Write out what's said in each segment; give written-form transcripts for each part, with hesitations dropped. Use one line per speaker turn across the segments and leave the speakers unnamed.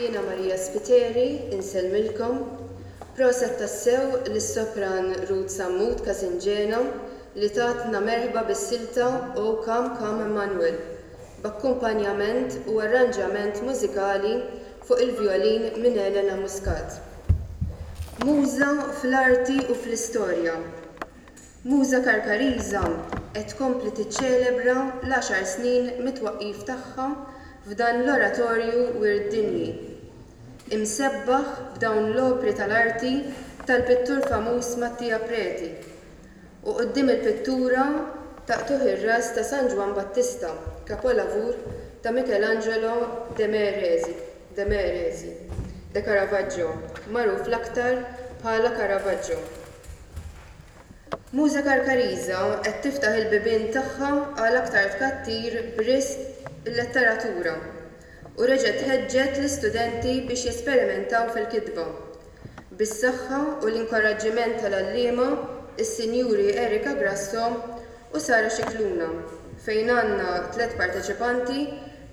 Jiena Maria Spiteri, insellmilkom. Proset tassew lis-sopran Ruth Sammut Casingena li tatna merħba bis-silta O Come Come Emmanuel b'akkumpanjament u arranġament mużikali fuq il-vjolin minn Elena Muscat. Muża fl-arti u fl-istorja. Muża Karkariża qed tkompli tiċċelebra l-għaxar snin mit-twaqqif tagħha f'dan l-Oratorju Wirt Dinji, imsebbaħ b'dawn l-opri tal-arti tal-pittur famuż Mattia Preti, u quddiem il-pittura ta' qtugħ ir-ras ta' San Ġwann Battista, kapolavur ta' Michelangelo de Merezi, de Merezi, de Caravaggio, magħruf l-aktar bħala Caravaggio. Muża Karkariża qed tiftaħ il-bibien tagħha għal aktar tkattir b'risq il-letteratura u reġgħet ħeġġet l-istudenti biex jesperimentaw fil-kitba. Bis-saħħa u l-inkoraġġiment tal-għalliema is-Sinjuri Erika Grasso u Sara Scicluna fejn għandna tlett parteċipanti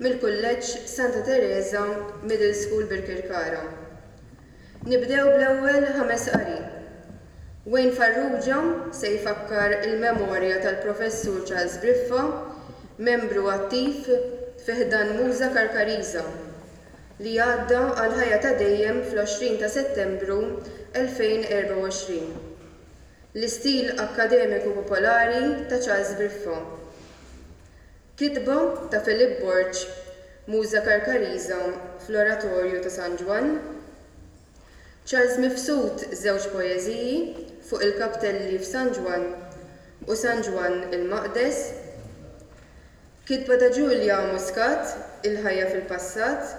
mill-Kulleġġ Santa Tereża Middle School Birkirkara. Nibdew bl-ewwel ħames qari. Wayne Farrugia se jfakkar il-memorja tal-Professur Charles Briffa, membru attiv fi ħdan Muża Karkariża, li għadda għall-ħajja ta' dejjem fl-20 ta' Settembru 2024. L-istil akkademiku popolari ta' Charles Briffa. Kitba ta' Philip Borg, Muża Karkariża fl-Oratorju ta' San Ġwann. Charles Mifsud żewġ poeżiji fuq il-kaptelli f'San Ġwann u San Ġwann il-Maqdes. Kitba ta' Julia Muscat, Il-ħajja fil-passat,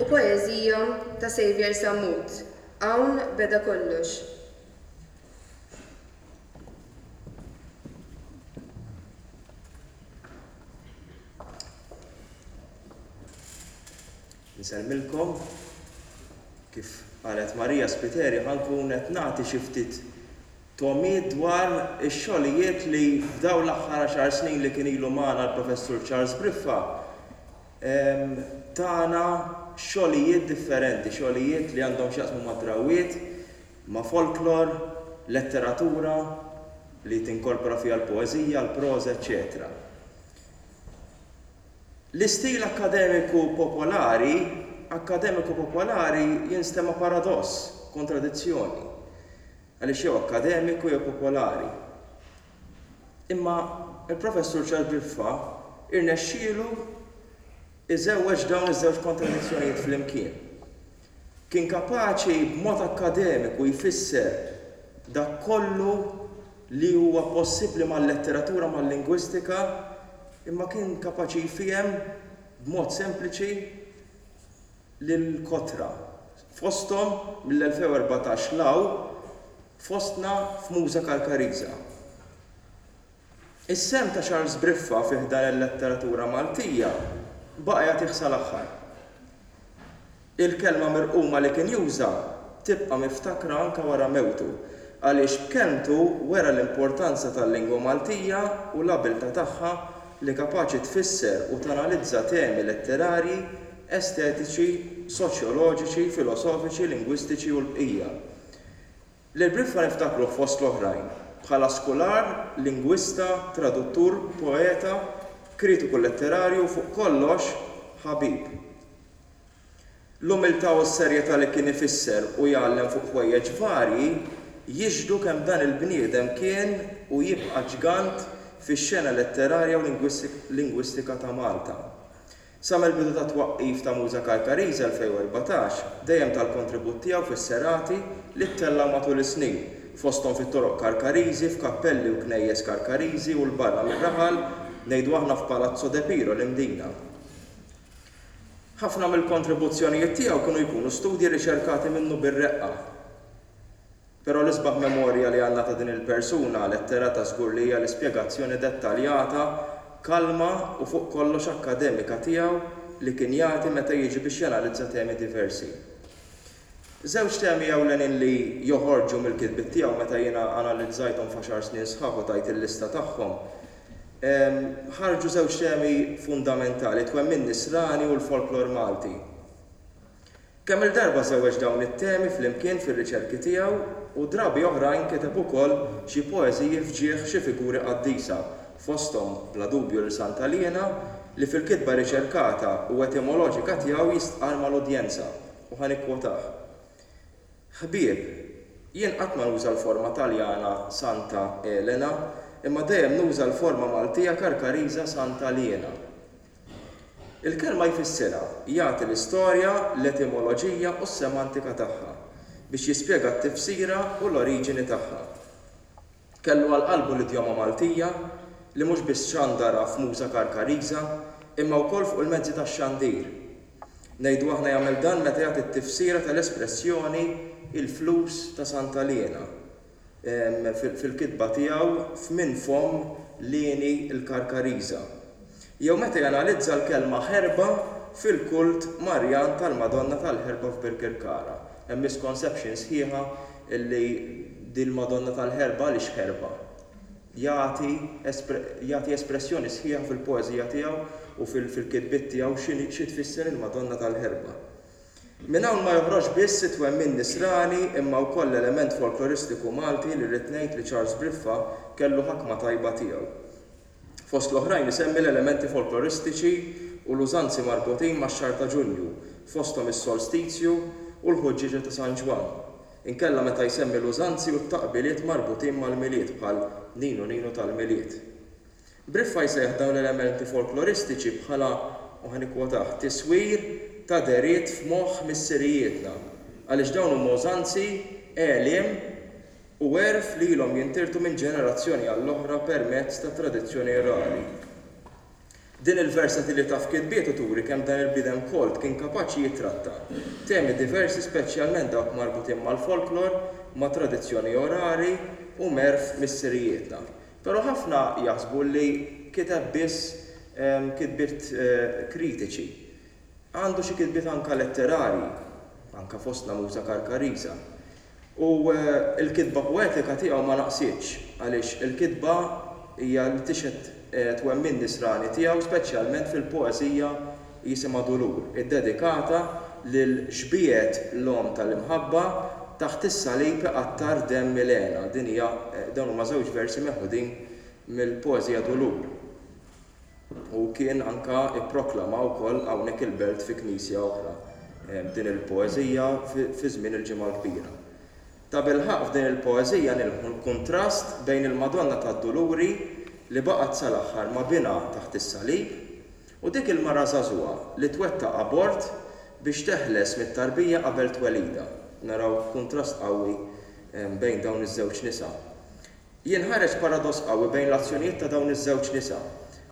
u poeżija ta' Saviour Sammut, Hawn beda kollox.
Insellmilkom. Kif qalet Maria Spiteri ħa nkun qed nagħti xi ftit togħmiet dwar ix-xogħlijiet li f'dawn l-aħħar għaxar snin li kien ilu magħna l-Professur Charles Briffa tana xogħlijiet differenti, xogħlijiet li għandhom x'jaqsmu mad-drawwiet, ma' folklor, letteratura li tinkorpora fiha l-poeżija, l-proża, eċċetera L-istil akkademiku popolari, akkademiku popolari jinstema' paradoss, kontradizzjoni, għaliex jew akkademiku jew popolari. Imma l-Professur Charles Briffa irnexxielu iżewweġ dawn iż-żewġ kontradizzjonijiet flimkien. Kien kapaċi b'mod akkademiku jfisser dak kollu li huwa possibbli mal-letteratura, mal-lingwistika, imma kien kapaċi jfiehem b'mod sempliċi lill-kotra, fosthom mill-2014 'l hawn, fostna f'Muża Karkariża. Is-sehem ta' Charles Briffa fi ħdan il-letteratura Maltija baqa' jagħtih sal-aħħar. Il-kelma mirquma li kien juża tibqa' miftakra anke wara mewtu għaliex b'kelmtu wera l-importanza tal-lingwa Maltija u l-abiltà tagħha li kapaċi tfisser u tanalizza temi letterarji, estetiċi, soċjoloġiċi, filosofiċi, lingwistiċi u l-bqija. Lil Briffa niftakruh fost l-oħrajn bħala skular, lingwista, traduttur, poeta, kritiku letterarju u fuq kollox, ħabib. L-umiltà u s-serjetà li kien ifisser u jgħallem fuq ħwejjeġ varji jixhdu kemm dan il-bniedem kien u jibqa' ġgant fix-xena letterarja u lingwistika ta' Malta. Sa mill-bidu tat-twaqqif ta' Muża Karkariża 2014, dejjem ta l-kontribut tiegħu fis-serati li ttellgħu matul is-snin, fosthom fit-toroq Karkariżi, f'kappelli u knejjes Karkariżi u 'l barra mir-raħal, ngħidu aħna f'Palazzo De Piro, l-Imdina. Ħafna mill-kontribuzzjonijiet tiegħu kienu jkunu studji riċerkati minnu bir-reqqa. Però l-isbaħ memorja li għandna ta' din il-persuna letterata żgur li hija l-ispjegazzjoni dettaljata, kalma u fuq kollox akkademika tiegħu li kien jagħti meta jiġi biex janalizza temi diversi. Żewġ temi ewlenin li joħorġu mill-kitbiet tiegħu meta jiena analizzajthom f'għaxar snin sħaħ u tajt il-lista tagħhom, ħarġu żewġ temi fundamentali, it-twemmin nisrani u l-folklor Malti. Kemm-il darba żewweġ dawn it-temi flimkien fir-riċerki tiegħu u drabi oħrajn kiteb ukoll xi poeżiji f'ġieħ xi figuri qaddisa, fosthom bla dubju lil Santa Liena li fil-kitba riċerkata u etimoloġika tiegħu jistqarr mal-udjenza, u ħa nikkwotah, Ħbieb, jien qatt ma nuża l-forma Taljana Santa Elena, imma dejjem nuża l-forma Maltija Karkariża Santa Liena. Il-kelma jfissirha, jagħti l-istorja, l-etimoloġija u s-semantika tagħha, biex jispjega t-tifsira u l-oriġini tagħha. Kellu għal qalbu l-idjoma Maltija, li mhux biss xandarha f'muża Karkariża, imma wkoll fuq il-mezzi tax-xandir. Ngħidu aħna jagħmel dan meta jagħti t-tifsira tal-espressjoni il-flus ta' Santa Liena. fil-kitba tiegħu f'Minn Fomm Lieni l-Karkariża, jew meta janalizza l-kelma ħerba fil-kult Marjan tal-Madonna tal-Ħerba f'Birkirkara. Hemm misconception sħiħa li dil-Madonna tal-Ħerba għaliex ħerba? Jagħti jagħti espressjoni sħiħa fil-poeżija tiegħu u fil-kitbiet tiegħu xi tfisser il-Madonna tal-Ħerba. Minn hawn ma joħroġx biss it-twemmin Nisrani imma wkoll l-element folkloristiku Malti li rrid ngħid li Charles Briffa kellu ħakma tajba tiegħu. Fost l-oħrajn isemmi l-elementi folkloristiċi u l-użanzi marbutin max-xahar ta' Ġunju, fosthom is-solstizju u l-ħuġġieġa ta' San Ġwann. Inkella meta jsemmi l-użanzi u t-taqbiliet marbutin mal-Milied bħal Ninu Ninu tal-Milied. Briffa jsejjaħ dawn l-elementi folkloristiċi bħala, u ħa nikkwotah, tiswir ta' dehriet f'moħħ missirijietna, għaliex dawn huma użanzi, għeliem u għerf li ilhom jintirtu minn ġenerazzjoni għall-oħra permezz tat-tradizzjoni orali. Din il-versatilità f'kitbietu turi kemm dan il-bniedem kolt kien kapaċi jittratta temi diversi speċjalment dawk marbutin mal-folklor, mat-tradizzjoni orali u m'għerf missirijietna. Però ħafna jaħsbu li kiteb biss kitbiet kritiċi. Għandu xi kitbiet anke letterarji, anke fostna Muża Karkariża. U l-kitba poetika tiegħu ma naqsitx, għaliex il-kitba hija li tixhed twemmin nisrani tiegħu speċjalment fil-poeżija jisimha Dulur, iddedikata lil xbiegħet l-Omm tal-Imħabba taħt is-salib iqattar demm Milena. Din hija, dawn huma żewġ versi meħudin mill-poeżija Dulur. U kien anka ipproklama wkoll hawnhekk il-Belt fi knisja oħra din il-poeżija fi żmien il-Ġimgħa l-Kbira. Tabilħaqq f'din il-poeżija nilmħu l-kuntrast bejn il-Madonna tad-Duluri li baqgħet sal-aħħar ma' binha taħt is-salib U dik il-mara żagħżugħa li twettaq abort biex teħles mit-tarbija qabel twelidha. Naraw kuntrast qawwi bejn dawn iż-żewġ nisa. Jinħareġ paradoss qawwi bejn l-azzjonijiet ta' dawn iż-żewġ nisa.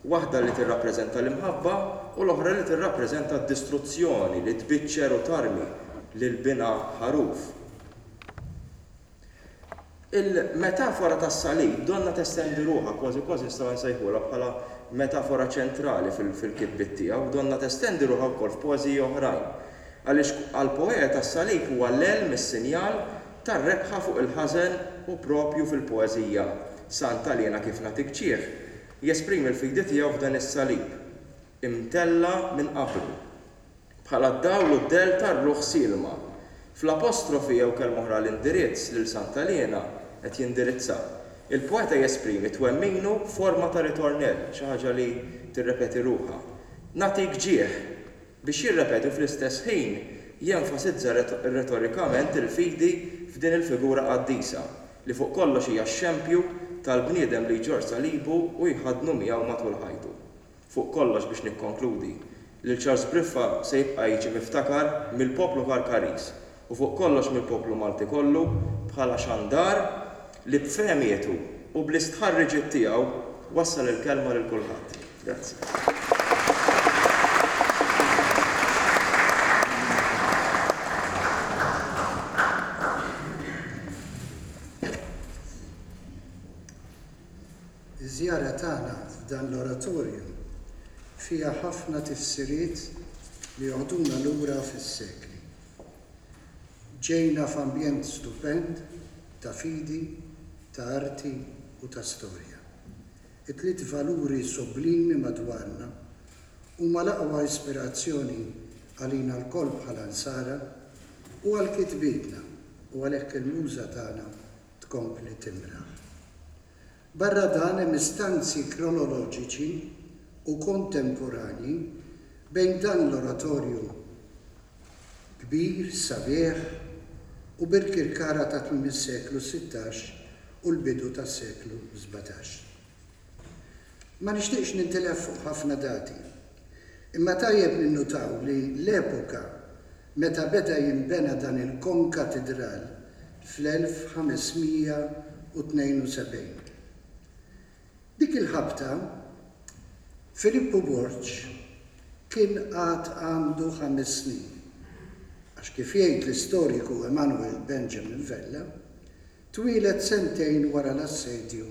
Waħda li tirrappreżenta l-imħabba u l-oħra li tirrappreżenta d-distruzzjoni li tbiċċer u tarmi lil binha ħaruf. Il-metafora tas-salib donnha testendi ruħha, kważi kważi nistgħu nsejħulha bħala metafora ċentrali fil-kitbiet tiegħu, donnha testendi ruħha wkoll f'poeżiji oħrajn. Għaliex għall-poeta s-salib huwa l-għelm, is-sinjal, tar-rebħa fuq il-ħażen u proprju fil-poeżija Santa Liena kif nagħtik ġieħ jesprimi l-fidi tiegħu f'dan is-salib imtella' minn qabru. Bħala d-dawl u d-dell tar-ruħ sielma. Fl-apostrofi jew kelma oħra l-indirizz lil Santa Liena qed jindirizza. Il-poeta jesprimi twemminu f'forma ta' ritornell, xi ħaġa li tirrepeti ruħha. Nagħtik ġieħ! Biex jirrepeti u fl-istess ħin jenfasizza retorikament il-fidi f'din il-figura qaddisa, li fuq kollox hija x-xempju tal-bniedem li jġorr salibu u jħaddnu miegħu matul ħajtu. Fuq kollox biex nikkonkludi, lil Charles Briffa se jibqa' jiġi miftakar mill-poplu Karkariż u fuq kollox mill-poplu Malti kollu bħala xandar li b'fehmietu u bl-istħarriġiet tiegħu wassal il-kelma lil kulħadd. Grazzi.
Iż-żjara tagħna f'dan l-oratorju fiha ħafna tifsiriet li joħduna lura fis-sekli. Ġejna f'ambjent stupend ta' fidi, ta' arti u ta' storja. It-tliet valuri sublimi madwarna huma l-aqwa ispirazzjoni għalina lkoll bħala Nsara. u għal kitbietna u għalhekk il-muża tagħna tkompli timraħ. Barra dan hemm istanzi kronoloġiċi u kontemporanji bejn dan l-oratorju kbir, sabiħ u Birkirkara ta' tmiem is-seklu 16 u l-bidu tas-seklu 17. Ma nixtieqx nintilef fuq ħafna dati, imma tajjeb ninnutaw li l-epoka meta beda jinbena dan il-konkatidral fl-1572. Dik il-ħabta, Filippu Borg kien għad għandu ħames snin, għax kif jgħid l-istoriku Emanuel Benjamin Vella, twieled sentejn wara l-assedju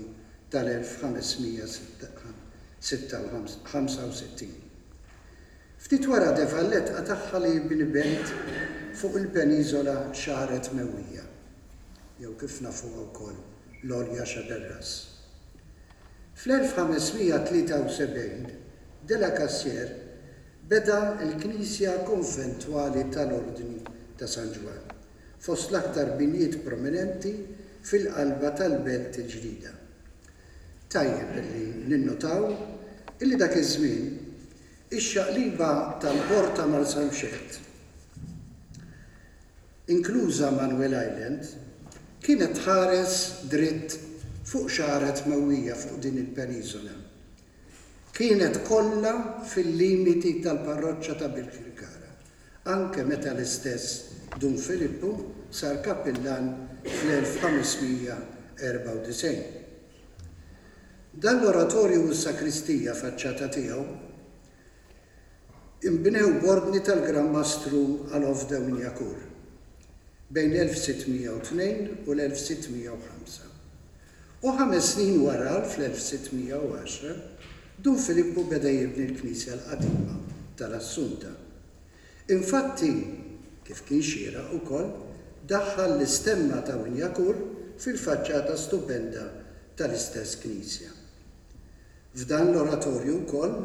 tal-1565. Ftit wara de Valette qatagħha li jibni belt fuq il-peniżola Xagħret Mewwija, jew kif nafuha wkoll l-Għolja Xaberras. Fl-1573 de la Cassière beda l-knisja konventwali tal-Ordni ta' San Ġwann, fost l-aktar binjiet prominenti fil-qalba tal-belt il-ġdida. Tajjeb illi ninnotaw illi dak iż-żmien ix-xaqliba tal-Port ta' Marsamxett, inkluża Manuel Island, kienet tħares dritt fuq xagħret mewwija fuq din il-peniżola. Kienet kollha fil-limiti tal-parroċċa ta' Birkirkara, anke meta l-istess Dun Filippu sar kappillan fl-1594. Dan l-oratorju u s-sakristija faċċata tiegħu Inbnew b'ordni tal-Gran Mastru Alof de Wignacourt bejn l-1602 u l-1605. U ħames snin wara, fl-1610, Dun Filippu beda jibni l-knisja l-qadima tal-Assunta. Infatti, kif kien xieraq ukoll, daħħal l-istemma ta' Wignacourt fil-faċċata stupenda tal-istess knisja. F'dan l-oratorju wkoll,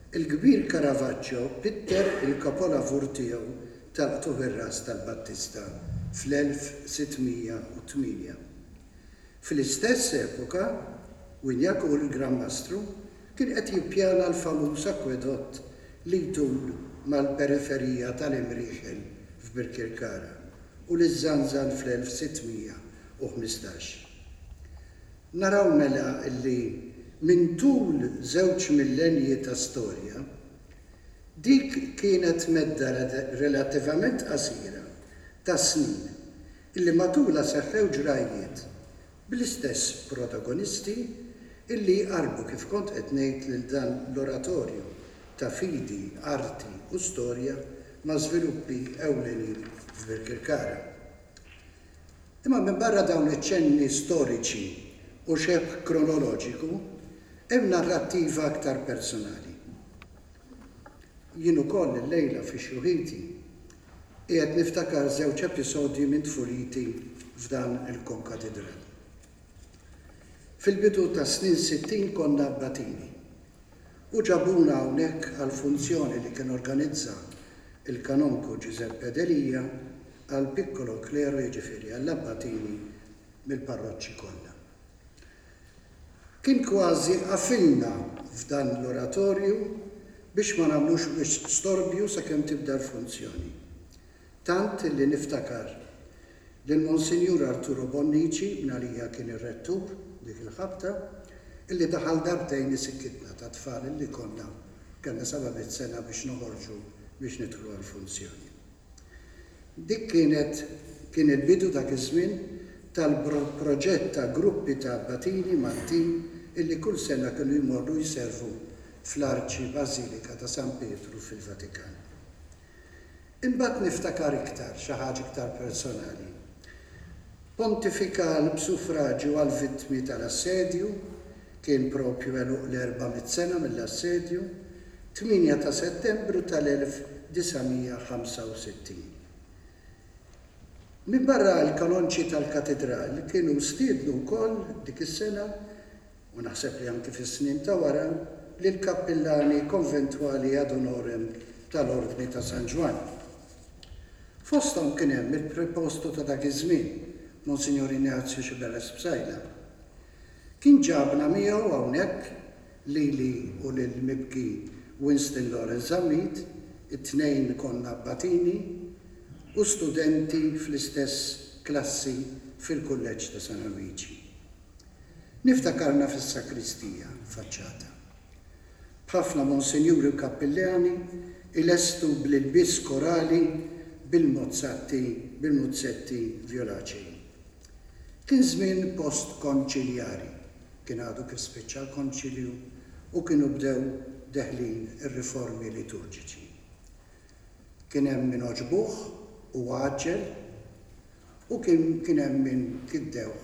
il-kbir Caravaggio pitter il-kapolavur tiegħu tal-Qtugħ ir-Ras tal-Battista fl-1608. Fl-istess epoka, Wignacourt il-Gran Mastru kien qed jippjana l-famuż akwedott li jtul mal-periferija tal-Imrieħel f'Birkirkara u li żżanżan fl-1615. Naraw mela li minn tul żewġ millenji ta' storja, dik kienet medda relattivament qasira ta' snin illi matulha seħħew ġrajjiet bl-istess protagonisti illi jqarrbu kif kont qed ngħid lil dan l-oratorju ta' fidi, arti u storja ma' żviluppi ewlenin f'Birkirkara. Imma minbarra dawn iċ-ċenni storiċi u xebh kronoloġiku, hemm narrattiva aktar personali. Jien ukoll illejla fi xjuħiti qiegħed niftakar żewġ episodji minn tfuliti f'dan il-konkatidral. Fil-bidu tas-snin 60 konna abbatini u ġabuna hawnhekk għal funzjoni li kien organizza l-Kanonku Giuseppe Delia għall-piccolo clero jiġifieri għall-abbatini mill-parroċċi kollha. Kien kważi qafilna f'dan l-oratorju biex ma nagħmlux wisq storbju sakemm tibda l-funzjoni. Tant illi niftakar lil Monsinjur Arturo Bonnici, mingħalija kien ir-rettur dik il-ħabta, illi daħal darbtejn isikkitna ta' tfal illi konna kellna 700 sena biex noħorġu biex nidħlu għall-funzjoni. Dik kienet kien il-bidu dak iż-żmien tal-proġett ta' gruppi ta' abbatini Maltin illi kull sena kienu jmorru jservu fl-Arċi Bażilika ta' San Pietru fil-Vatikan. Imbagħad niftakar iktar, xi ħaġa iktar personali. Pontifikal b'suffraġju għall-vittmi tal-assedju, kien propju għeluq l-400 sena mill-assedju, 8 ta' Settembru tal-1965. Minbarra l-kanonċi tal-Katidral kienu stiednu wkoll dik is-sena u naħseb li anki fis-snin ta' wara, lill-kappillani konventwali ad honorem tal-Ordni ta' San Ġwann. Fosthom kien hemm il-Prepostu ta' dak iż-żmien, Monsinjur Ignazio Sciberras Psaila. Kien ġabna miegħu hawnhekk, lili u lill-mibki Winston Lawrence Zammit, it-tnejn konna abbatini u studenti fl-istess klassi fil-Kulleġġ ta' San Alwiġi. Niftakarna fis-sakristija, faċċata. B'ħafna monsinjuri u kappillani ilestu bl-ilbies korali bil-mozzatti bil-muzzetti vjolaċei. Kien żmien post-konċiljari, kien għadu kif spiċċa l-Konċilju u kienu bdew deħlin ir-riformi liturġiċi. Kien hemm min għoġbuh u għaġġel u kien kien hemm min kiddewh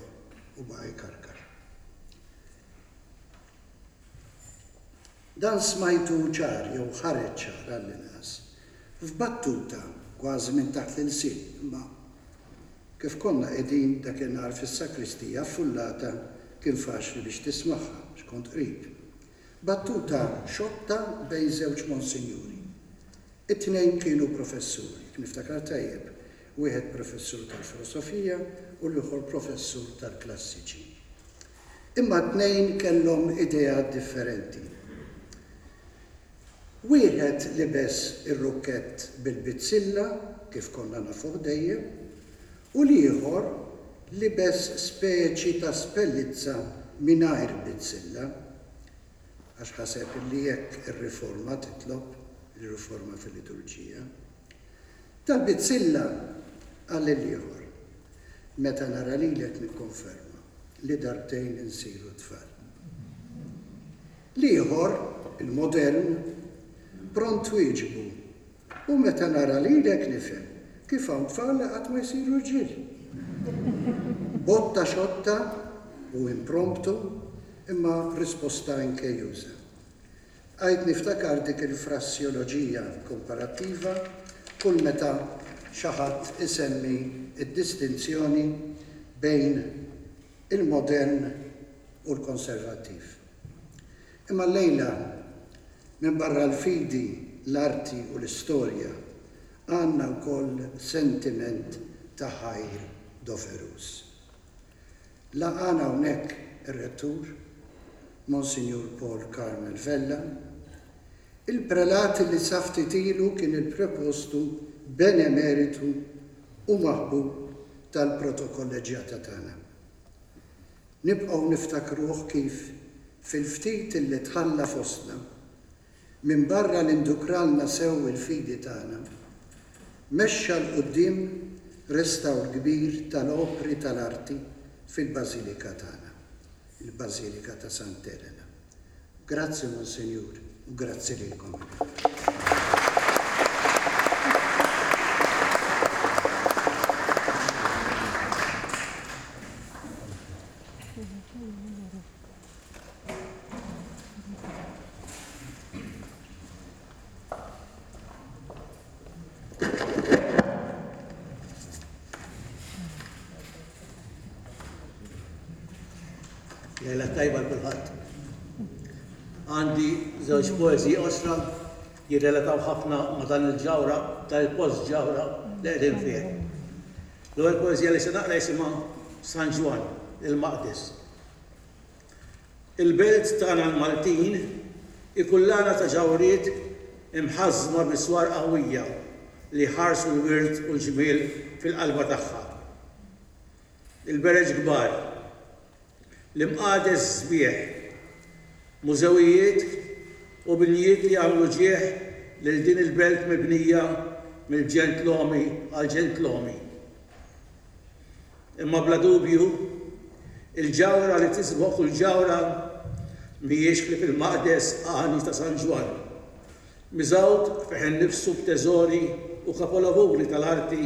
u baqa' jkarkar. Dan smajtu ċar, jew ħareġ ċar għall-inqas, f'battuta kważi minn taħt l-ilsien, imma kif konna qegħdin dakinhar fis-sakristija affullata kien faċli biex tismagħha għax kont qrib. Battuta xotta bejn żewġ monsinjuri. It-tnejn kienu professuri, jekk niftakar tajjeb, wieħed professur tal-filosofija u l-ieħor professur tal-klassiċi. Imma t-tnejn kellhom ideat differenti. Wieħed libes ir-rukkett bil-bizzilla, kif konna nafuh dejjem, u l-ieħor libes speċi ta' spellizza mingħajr bizzilla. Għax ħaseb li hekk ir-riforma titlob, ir-riforma fil-liturġija. Tal-bizzilla, qal lill-ieħor, meta nara lilek nikkonferma li darbtejn insiru tfal. L-ieħor, il-modern, pront wieġbu, U meta nara lilek nifhem kif hawn tfal li qatt ma jsiru rġiel. Botta xotta u impromptu imma risposta inkejjuża. Bqajt niftakar dik il-frassjoloġija komparattiva kull meta xi ħadd isemmi d-distinzjoni bejn il-modern u l-konservattiv. Imma llejla, minbarra l-fidi, l-arti u l-istorja, għandna wkoll sentiment ta' ħajr doveruż. Laqagħna hawnhekk ir-Rettur, Monsinjur Paul Carmel Vella, il-prelat li sa ftit ilu kien il-prepostu benemeritu u maħbub tal-protokolleġġjata tagħna. Nibqgħu niftakruh kif, fil-ftit li tħalla fostna, minbarra li ndukralna sew il-fidi tagħna, mexxa 'l quddiem restawr kbir tal-opri tal-arti fil-Bażilika tagħna, il-Bażilika ta' Sant'Elena. Grazzi Monsinjur u grazzi lilkom ilkoll.
Lejla tajba l kulħadd. Għandi żewġ poeżiji qosra jirrelataw ħafna ma' dan il-ġawra, dan il-post ġawra li qegħdin fih. L-ewwel poeżija li se naqra jisimha San Ġwann il-Maqdes. Il-belt tagħna l-Maltin hi kullana ta' ġawhriet imħażżma bi swar qawwija li jħarsu l-wirt u l-ġmiel fil-qalba tagħha. Il-bereġ kbar, l-imqades sbieħ, mużewijiet u binjiet li jagħmlu ġieħ lil din il-belt mibnija mill-ġentlomi għall-ġentlomi. Imma bla dubju, il-ġawhra li tisboq kull ġawhra mhijiex ħlief il-maqdes għani ta' San Ġwann, miżgħud fih innifsu b'teżori u kapolavuri tal-arti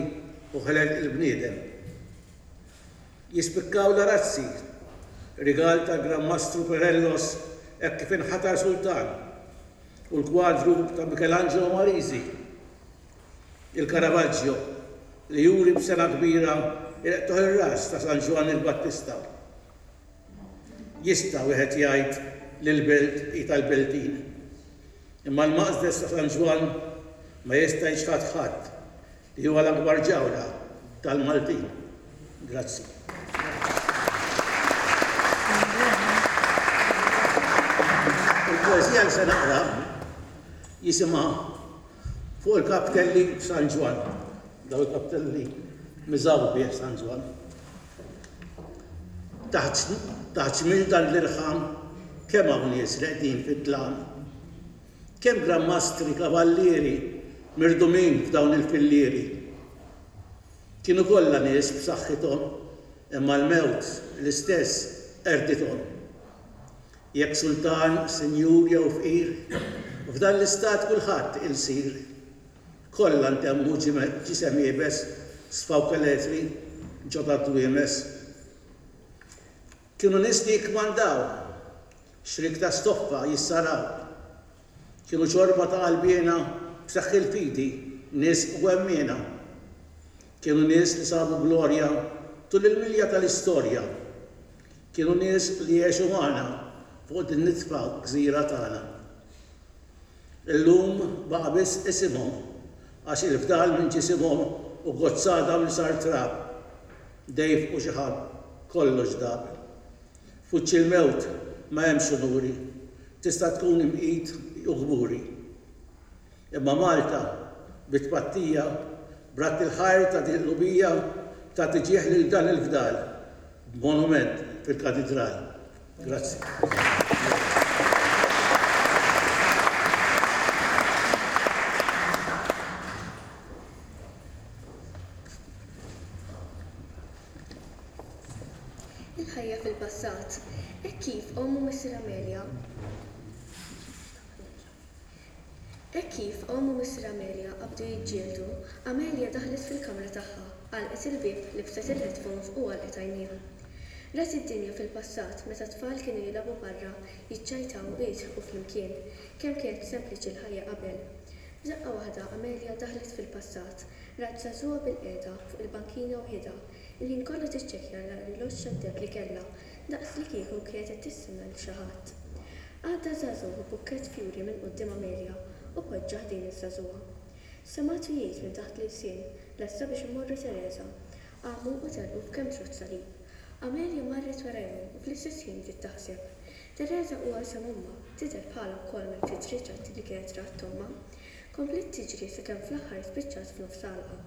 u ħelel il-bniedem. Jispikkaw l-arazzi, rigal tal-Gran Mastru Perellos hekk kif inħatar sultan, u l-kwadru ta' Michelangelo Marisi, il-Caravaggio, li juri b'sengħa kbira il-qtugħ ir-ras ta' San Ġwann il-Battista. Jista' wieħed jgħid li l-belt hi tal-Beltin. Imma l-maqdes ta' San Ġwann ma jista' jiċħad ħadd. Li huwa l-akbar ġawhra tal-Maltin. Grazzi. Il-poeżija li se naqra jisimha Fuq il-Kaptelli f'San Ġwann. Dawn il-kaptelli miżgħud bih San Ġwann. Taħt taħt ġmiel dan l-irħam kemm hawn nies reqdin fid-dlam. Kemm Gran Mastri, Kavallieri, mirdumin f'dawn il-fillieri. Kienu kollha nies b'saħħithom, imma l-mewt l-istess qerdithom. Jekk sultan, sinjur jew fqir, f'dan l-istat kulħadd ilsir. Kollha ntemmu ġisem iebes, sfaw keletri ġo tad-dwiemes. Kienu nies li jikkmandaw, Xriek ta' stoffa jissaraw. Kienu ċorba ta' qalbiena b'saħħ il-fidi, nies gwemmiena. Kienu nies li sabu glorja tul il-milja tal-istorja. Kienu nies li għexu magħna fuq din nitfa gżira tagħna. Illum baqa' biss isimhom għax il-fdal minn ġisimhom hu gozz għadam li sar trab. Dejf u xiħab kollox dab. F'wiċċ il-mewt ma hemmx unuri, tista' tkun imqit u kburi. Imma Malta, bi tpattija, b'radd il-ħajr ta' din il-qlubija, tagħti ġieħ lil dan il-fdal b'monument fil-Katidral. Grazzi.
Il-ħajja fil-passat, hekk kif omm u missier Amelia Hekk kif omm u missier Amelia qabdu jiġġieldu, Amelia daħlet fil-kamra tagħha, għalqet il-bieb, libset il-headphones u għalqet għajnejha. Rat id-dinja fil-passat meta t-tfal kienu jilagħbu barra, jiċċajtaw u jidħqu flimkien. Kemm kienet sempliċi l-ħajja qabel! F'daqqa waħda Amelia daħlet fil-passat. Rat żagħżugħa bilqiegħda fuq il-bankina waħidha, il-ħin kollu tiċċekkja l-arloġġ tad-deheb li kellha, daqs li kieku kienet qed tistenna lil xi ħadd. Għadda żagħżugħ b'bukkett fjuri minn quddiem Amelia u poġġa ħdejn iż-żagħżugħa. Semgħetu jgħid minn taħt l-ilsien, Lesta biex immorru Tereża. Qamu u telqu f'kemm trott salib. Amelia marret warajhom u fl-istess ħin bdiet taħseb. Tereża huwa isem ommha, tidher bħalha wkoll mill-ftit ritratti li kienet rat ommha. Kompliet tiġri sakemm fl-aħħar spiċċat f'nofs għalqa.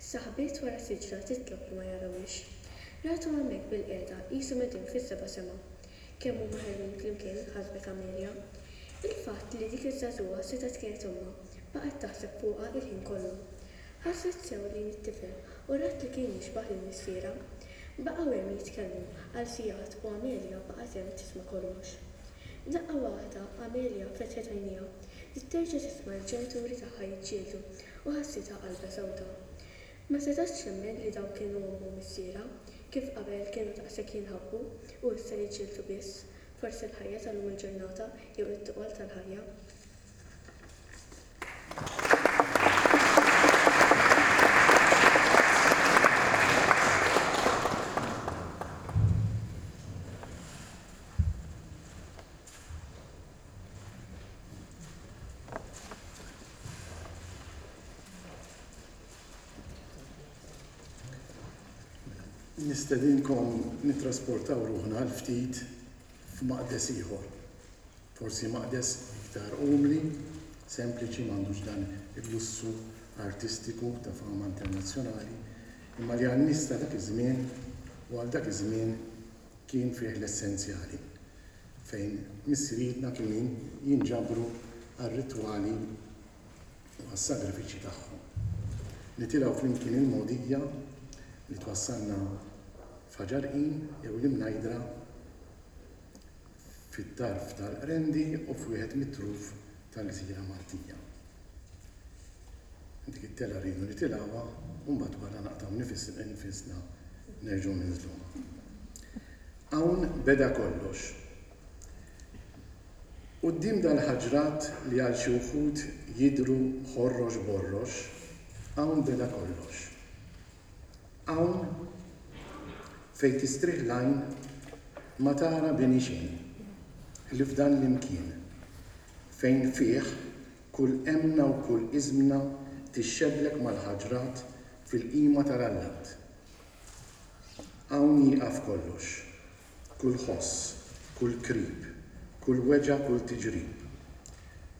Staħbiet wara siġra titlob li ma jarawhiex. Rathom hemmhekk bilqiegħda qishom qegħdin fis-seba' sema. Kemm huma ħelwin flimkien, ħasbet Amelia. Il-fatt li dik iż-żagħżugħa setgħet kienet ommha, baqgħet taħseb fuqha il-ħin kollu. Ħarset sew lejn it-tifel u rat li kien jixbah lil missierha. Baqgħu hemm jitkellmu għal sigħat u Amelia baqgħet hemm tisma' kollox. F'daqqa waħda Amelia fetħet għajnejha. Bdiet terġa' tisma' l-ġenituri tagħha jiġġieldu u ħassitha qalbha sewda. Ma setgħetx temmen li dawn kienu ommha u missierha, kif qabel kienu daqshekk jinħabbu u issa jiġġieldu biss, forsi l-ħajja tal-lum il-ġurnata jew it-toqol tal-ħajja.
Nistedinkom nittrasportaw ruħna għal ftit f'maqdes ieħor. Forsi maqdes iktar umli, sempliċi, m'għandux dan il-lussu artistiku ta' fama internazzjonali, imma li għan-nies ta' dak iż-żmien u għal dak iż-żmien kien fih l-essenzjali, fejn missirijietna kienu jinġabru għar-ritwali u għas-sagrifiċċji tagħhom. Nitilgħu flimkien il-mogħdija li twassalna f'Ħaġar Qim jew l-Imnajdra fit-tarf tal-Qrendi u f'wieħed mit-truf tal-gżira Maltija. Dik it-telgħa rridu nitilgħuha u mbagħad wara naqtgħu nifisna nerġgħu ninżluha. Hawn beda kollox. Quddiem dal-ħaġrat li għal xi wħud jidhru ħorrox borrox, hawn beda kollox. Hawn, fejn tistrieħ l-għajn, ma tara bini xejn, ħlief dan l-imkien, fejn fih kull emmna u kull iżmna. tixxeblek mal-ħaġrat fil-qima tal-allat. Hawn jieqaf kollox, kull ħoss, kull krib, kull weġgħa, kull tiġrib.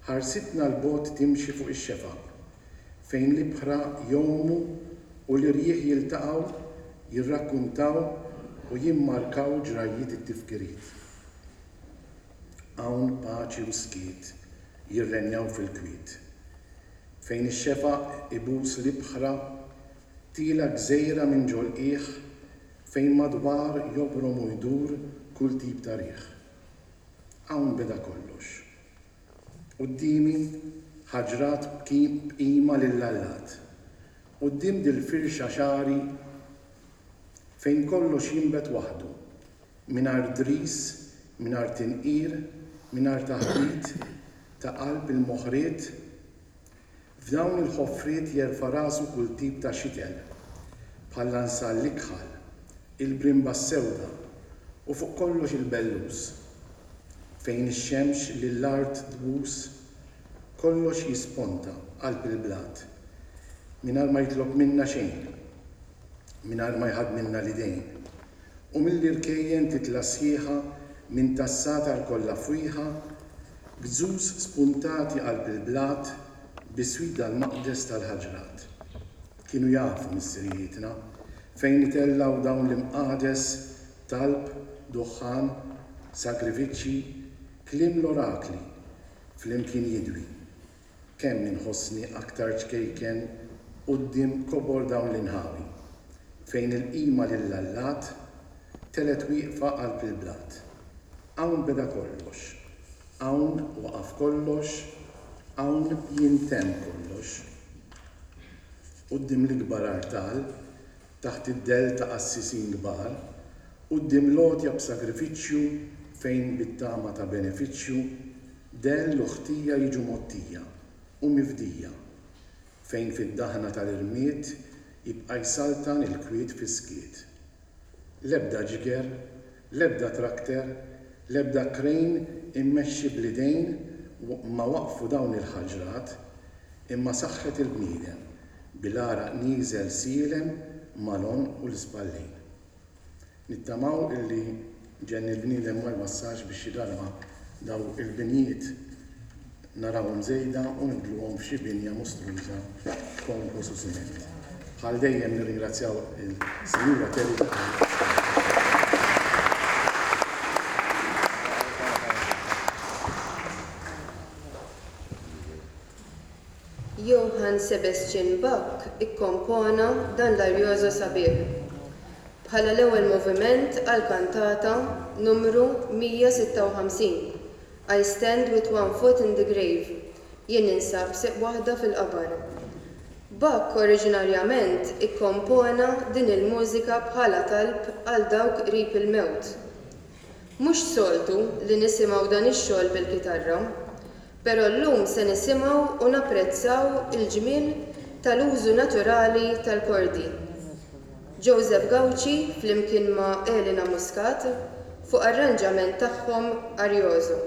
Ħarsitna 'l bogħod timxi fuq ix-xefaq, fejn l-ibħra jgħumu u l-irjieħ jiltaqgħu, jirrakkuntaw u jimmarkaw ġrajjiet it-tifkiriet. Hawn paċi u skiet jirrenjaw fil-kwiet. Fejn ix-xefaq ibus l-ibħra, tiela' gżejra minn ġol-qiegħ fejn madwar jobrom u jdur kull tip ta' riħ. Hawn beda kollox. Quddiemi ħaġrat b'qima lill-allat. Quddiem dil-firxa xagħri fejn kollox jinbet waħdu, mingħajr dris, mingħajr tinqir, mingħajr taħbit ta' qalb il-moħriet. F'dawn il-ħofriet jerfa' rasu kull tip ta' xitel, bħall-ansall l-ikħal, il-brimba s-sewda u fuq kollox il-bellus. Fejn ix-xemx lill-art tbus, kollox jisponta qalb il-blat, mingħajr ma jitlob minna xejn, mingħajr ma jħaddmilna l-idejn. U mill-irkejjen titla' sħiħa minn tas-sagħtar kollha fwieħa, gzuz spuntati qalb il-blat biswit dal-maqdes tal-ħaġrat. Kienu jafu missirijietna fejn itellgħu dawn l-imqades talb, duħħan, sagrifiċċji, kliem l-orakli flimkien jidwi. Kemm inħossni aktar ċkejken quddiem kobor dawn l-inħawi, fejn il-qima lill-allat telgħet wieqfa qalb il-blat. Hawn beda kollox, hawn waqaf kollox, hawn jintemm kollox. Quddiem l-ikbar artal, taħt id-dell ta' qassisin kbar, quddiem l-għotja b'sagrifiċċju fejn bit-tama ta' benefiċċju, dell u ħtija jiġu mgħottija u mifdija, fejn fid-daħna tal-irmied jibqa' jsaltan il-kwiet fis-skiet. L-ebda ġiger, l-ebda trakter, l-ebda crane immexxi bl-idejn ma waqqfu dawn il-ħaġrat, imma saħħet il-bniedem, bil-għaraq nieżel sielem mal-għonq u l-ispallejn. Nittamaw illi ġenn il-bniedem ma jwassalx biex xi darba daw il-binjiet narawhom żejda u nibdluhom f'xi binja mostruża b'konkos u siment. Bħal dejjem nirringrazzjaw il-Sinjura Terry ta'
Johann Sebastian Bach ikkompona dan l-arioso sabiħ bħala l-ewwel moviment għall-kantata Numru 156, I Stand With One Foot in the Grave, Jien Ninsab B'Sieq Waħda fil-Qabar. Bach oriġinarjament ikkompona din il-mużika bħala talb għal dawk qrib il-mewt. Mhux soltu li nisimgħu dan ix-xogħol bil-kitarra. Però llum se nisimgħu u napprezzaw il-ġmiel tal-użu naturali tal-kordi. Joseph Gauci flimkien ma' Elena Muscat fuq arranġament tagħhom Arioso.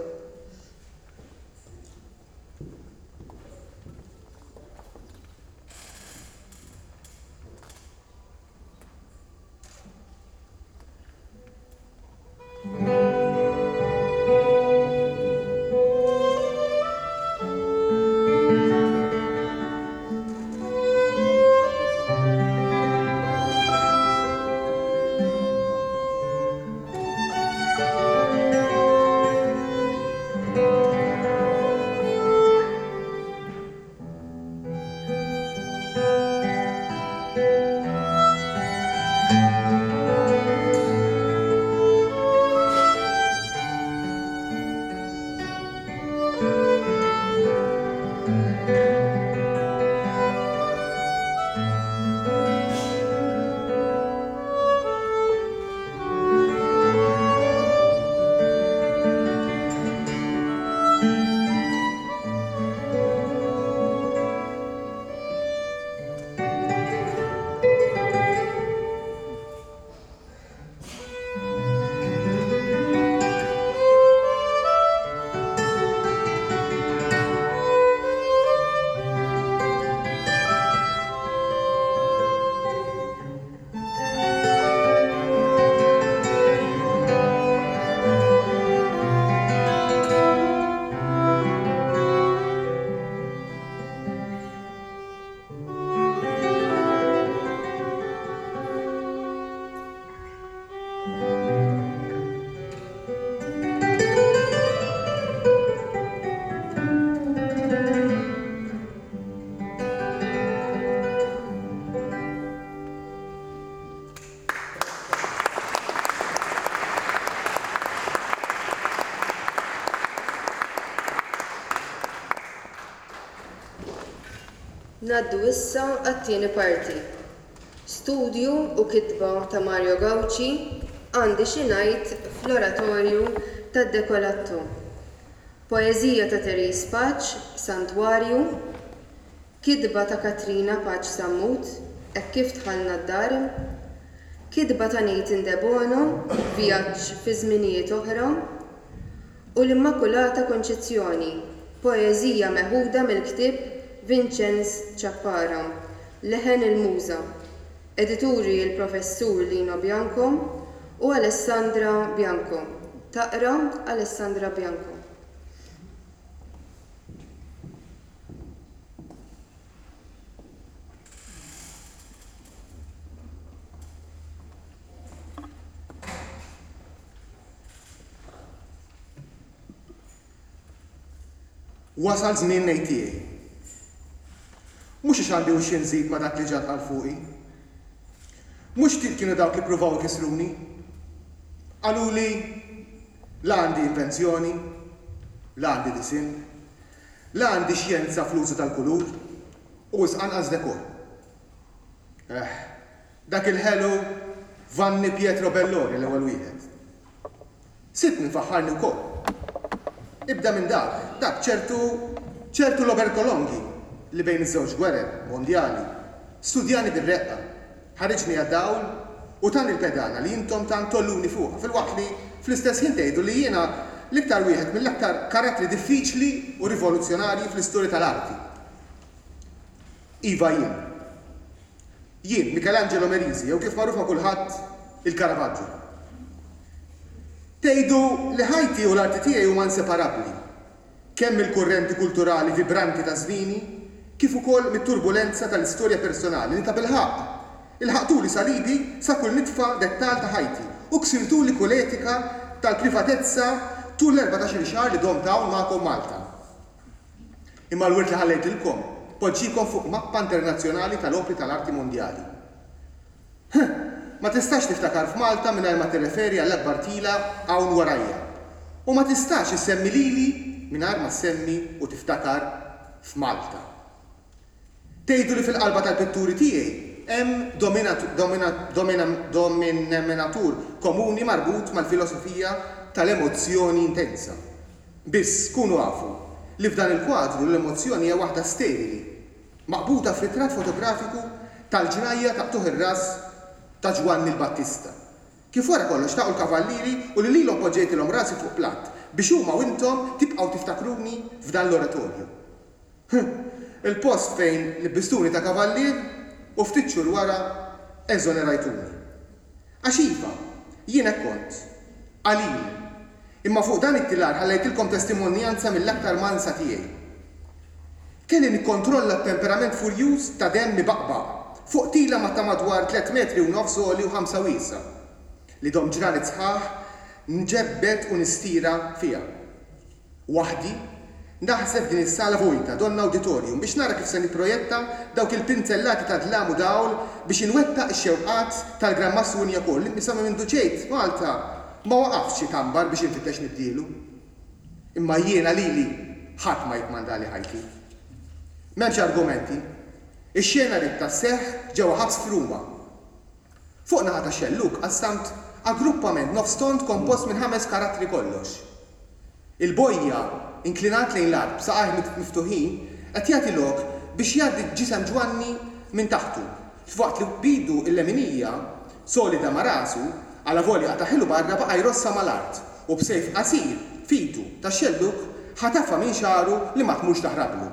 Ngħaddu issa għat-tieni parti. Studju u kitba ta' Mario Gauci, Għandi xi ngħid fl-Oratorju tad-Decolatto. Poeżija ta' Therese Pace, Santwarju, Kitba ta' Katrina Pace Sammut, Hekk kif dħalna d-dar, Kitba ta' Nathan Debono, Vjaġġ fi żminijiet oħra, u L-Immakulata Konċizzjoni, poeżija meħuda mill-ktieb Vinċenz Ciappara, Leħen il-Muża, edituri l-Professur Lino Bianco u Alessandra Bianco. Taqra Alessandra Bianco.
Wasal żmien ngħid tiegħi. Mhux għax għandi u xi nżid ma' dak li ġa ntqal fuqi. Mhux ftit kienu dawk li ppruvaw ikissruni. Qaluli la għandi invenzjoni, la għandi disinn, la għandi xjenza fl-użu tal-kulur u wisq anqas dekor. Eh, Dak il-ħelu Vanni Pietro Belloni l-ewwel wieħed. Sibt min faħħarni wkoll. Ibda minn dak, dak ċertu, ċertu Roberto Longhi li bejn iż-żewġ gwerer mondjali studjani bir-reqqa, ħariġni għad-dawl u tani l-pedana li intom tant tgħolluni fuqha filwaqt li fl-istess ħin tgħidu li jiena l-iktar wieħed mill-aktar karattri diffiċli u rivoluzzjonarji fl-istorja tal-arti. Iva jien. Jien, Michelangelo Merisi, jew kif magħruf ma' kulħadd, il-Caravaggio. Tgħidu li ħajti u l-arti tiegħi huma inseparabbli, kemm mill-kurrenti kulturali vibranti ta' żmieni, kif ukoll mit-turbulenza tal-istorja personali li tabilħaqq ilħaqtuli salibi sa kull nitfa dettall ta' ħajti u ksirtuli kull etika tal-privatezza tul l-erbatax-il xahar li domt hawn magħkom Malta. Imma l-wirt li ħallejtilkom poġġiekom fuq mappa internazzjonali tal-opri tal-arti mondjali. Huh! Ma tistax tiftakar f'Malta mingħajr ma tirreferi għall-akbar tila hawn warajja. U ma tistax issemmi lili mingħajr ma ssemmi u tiftakar f'Malta. Tgħidu li fil-qalba tal-pitturi tiegħi hemm dominatur komuni marbut mal-filosofija tal-emozzjoni intensa. Biss, kunu afu li f'dan il-kwadru l-emozzjoni hija waħda sterili, maqbuda f'ritratt fotografiku tal-ġrajja ta' qtugħ ir-ras ta' Ġwanni l-Battista. Kif wara kollox xtaqu l-kavallieri u li lilhom poġġejtilhom rasi fuq platt biex huma u intom tibqgħu tiftakruni f'dan l-oratorju. Huh! Il-post fejn libbistuni ta' kavallier u ftit xhur wara eżonerajtuni. Għax iva, jien hekk kont. Qalil. Imma fuq dan it-tilar ħallejtilkom testimonjanza mill-aktar mansa tiegħi. Kelli nikkontrolla t-temperament furjuż ta' demm ibaqbaq fuq tila ma' ta' madwar tlett metri u nofs għoli u ħamsa wiesgħa, li domt ġranet sħaħ nġebbed u nistira fiha. Waħdi, naħseb f'din is-sala vojta, donnha awditorium, biex nara kif se nipprojetta dawk il-pinzellati ta' dlam u dawl biex inwettaq ix-xewqat tal-Gran Mastru Wignacourt li sa minn mindu ġejt Malta ma waqaftx itambar biex infittex nibdielu. Imma jiena lili ħadd ma jikkmandali ħajti. M'hemmx argumenti. Ix-xena ridtha sseħħ ġewwa ħabs f'Ruma. Fuq naħa tax-xellug qassamt aggruppament nofs tond kompost minn ħames karattri kollox. Il-bojja, inklinat lejn l-art b'saqajh miftuħin, qed jagħti lok biex jgħaddi ġisem Ġwanni minn taħtu, f'waqt li b'idu l-leminija, solida ma' rasu, alavolja qatagħhilu barra baqa' jrossha mal-art u b'sejf qasir f'idu tax-xellug ħatafha minn xagħru li ma tmurx taħrablu.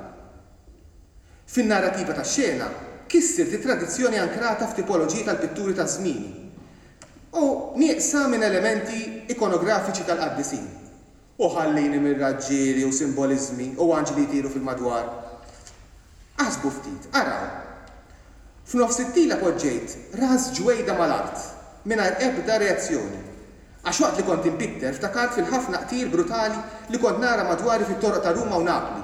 Fin-narrativa tax-xena, kissirt it-tradizzjoni ankrata f'tipoloġiji tal-pitturi ta' żmieni u nieqsa minn elementi ikonografiċi tal-qaddisin. U ħallini mir-raġġieli u simboliżmi u anġli jtiru fil-madwar. Aħsbu ftit, araw. F'nofs it-tila poġġejt ras ġwejda mal-art, mingħajr ebda reazzjoni. Għax waqt li kont inpitter ftakart fil-ħafna qtil brutali li kont nara madwari fit-toroq ta' Ruma u Napli.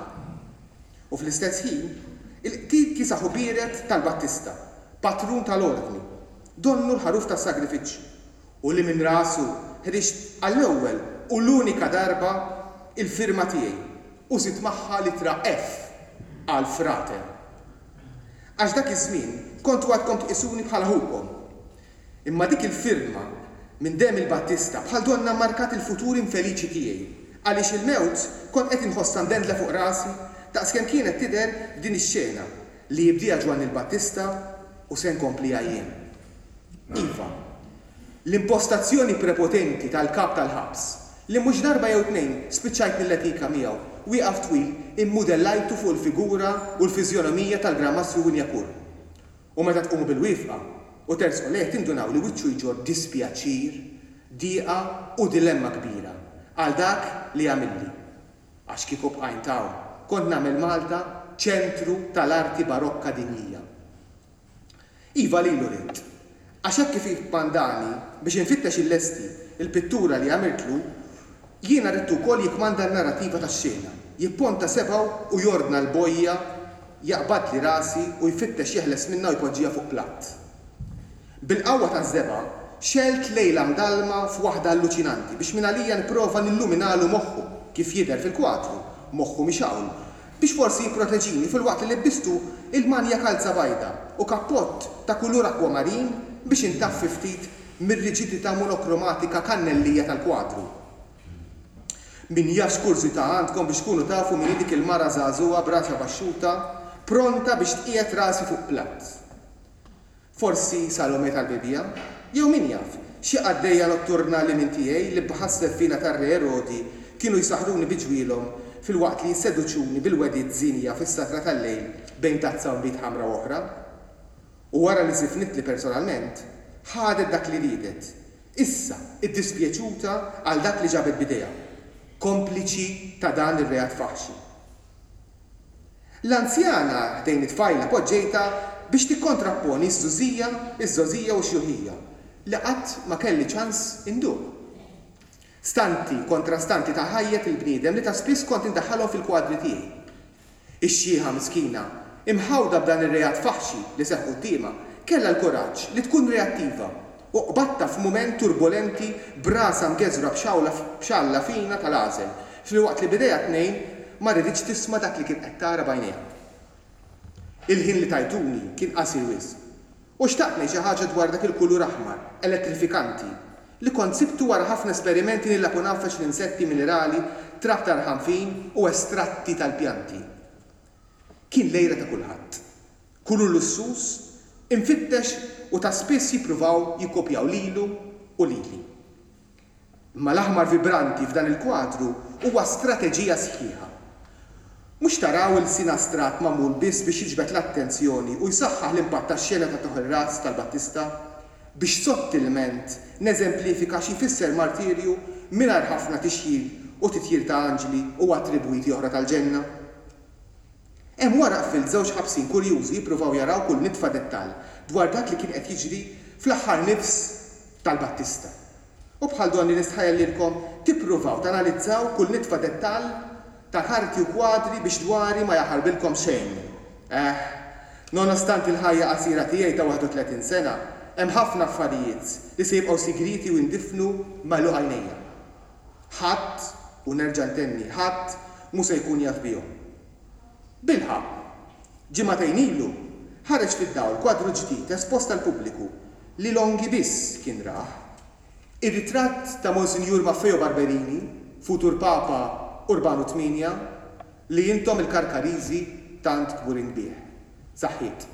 U fl-istess ħin, il-qtil kiesaħ u biered tal-Battista, patrun tal-Ordni, donnu l-ħaruf tas-sagrifiċċju, u li minn rasu ħriġt għall-ewwel u l-unika darba il-firma tiegħi u żidt magħha l-ittra F għal Frater. Għax dak iż-żmien kontu għadkom tqisuni bħala ħukom. Imma dik il-firma minn demm il-Battista bħal donnha mmarkat il-futur infeliċi tiegħi, għaliex il-mewt kont qed inħossha mdendla fuq rasi daqskemm kienet tidher f'din ix-xena li jibdieha Ġwanni l-Battista u se nkompliha jien. Iva, l-impostazzjoni prepotenti tal-kap tal-ħabs, li mhux darba jew tnejn spiċċajt nilletika miegħu, wieqaf twil immudellajtu fuq il-figura u l-fiżjonomija tal-Gran Mastru Wignacourt. U meta tqumu bil-wieqfa u tersqu lejh tindunaw li wiċċu jġorr dispjaċir, dieqa u dilemma kbira għal dak li għamilli. Għax kieku bqajnt hawn, kont nagħmel Malta ċentru tal-arti barokka dinjija. Iva lilu ridt. Għax hekk kif ikkmandani biex infittex illesti l-pittura li għamiltlu, jiena ridtu wkoll jikkmanda n-narrativa tax-xena, jipponta sebgħu u jordna l-bojja jaqbadli rasi u jfittex jeħles minnha u jpoġġiha fuq platt. Bil-qawwa taż-żebgħa, xegħelt lejla mdallma f'waħda alluċinanti biex mingħalija nipprova nilluminalu moħħu, kif jidher fil-kwadru, moħħu mixgħul, biex forsi jipproteġini filwaqt li libbistu il-manja kalza bajda u kappott ta' kulur akwamarin biex intaffi ftit mir-riġidità monokromatika kannellija tal-kwadru. Min jaf x'kurżità għandkom biex tkunu tafu min hi dik il-mara żagħżugħa b'rasha baxxuta, pronta biex tqiegħed rasi fuq platt. Forsi Salome tal-Bibbja? Jew min jaf, xi qaddejja notturna li minn tiegħi li bħas-seffina tar-Re Erodi kienu jsaħħruni bi ġwielhom filwaqt li jisseduċuni bil-wegħdiet żienja fis-satra tal-lejl bejn tazza nbid ħamra u oħra? U wara li żifnitli personalment, ħadet dak li riedet, issa iddispjaċuta għal dak li ġabet b'idejha, kompliċi ta' dan ir-reat faħxi. L-anzjana ħdejn it-tfajla poġġejtha biex tikkontrapponi ż-żgħużija, iż-żgħożija u x-xjuħija, li qatt ma kelli ċans induq. Stanti kontrastanti ta' ħajjet il-bniedem li ta' spiss kont indaħħalhom fil-kwadri tiegħi. Ix-xiħa miskina, imħawda b'dan ir-reat faħxi li seħħ quddiemha, kellha l-kuraġġ li tkun reattiva u qbadtha f'mument turbolenti b'rasha mgeżwra b'xawla b'xalla fina tal-għażel, filwaqt li b'idejha t-tnejn ma riditx tisma' dak li kien qed tara b'għajnejha. Il-ħin li tajtuni kien qasir wisq. U xtaqt ngħid xi ħaġa dwar dak il-kulur aħmar elettrifikanti li kont sibtu wara ħafna esperimenti nilgħab u ngħaffeġ l-insetti, minerali, trab ta' rħam fin u estratti tal-pjanti. Kien l-għira ta' kulħadd. Kulur lussuż, imfittex u ta' spiss jippruvaw jikkopjaw lilu u lili. Imma l-aħmar vibranti f'dan il-kwadru huwa strateġija sħiħa. Mhux taraw ilsien astratt magħmul biss biex jiġbed l-attenzjoni u jsaħħaħ l-impatt tax-xena ta' tuħ ir-ras tal-Battista, biex sottilment neżemplifika xi jfisser martirju mingħajr ħafna tixjir u titjir ta' anġli u attribwiti oħra tal-ġenna. Hemm wara qfilt żewġ ħabsin kurjużi jippruvaw jaraw kull nitfa dettall dwar dak li kien qed jiġri fl-aħħar nifs tal-Battista. U bħal donni nistħajjel lilkom tippruvaw tanalizzaw kull nitfa dettall ta' karti u kwadri biex dwari ma jaħarbilkom xejn. Eh, nonostanti l-ħajja qasira tiegħi ta' 31 sena, hemm ħafna affarijiet li se jibqgħu sigrieti u jindifnu m'għeluq għajnejja. Ħadd, u nerġa' ntenni, ħadd mhu se jkun jaf bihom. Bilħaqq, ġimagħtejn ilu, ħareġ fid-dawl kwadru ġdid espost għall-pubbliku li Longhi biss kien rah. Ir-ritratt ta' Monsinjur Maffeo Barberini, futur Papa Urbanu Tmienja, li intom il-Karkariżi tant kburin bih. Saħħiet.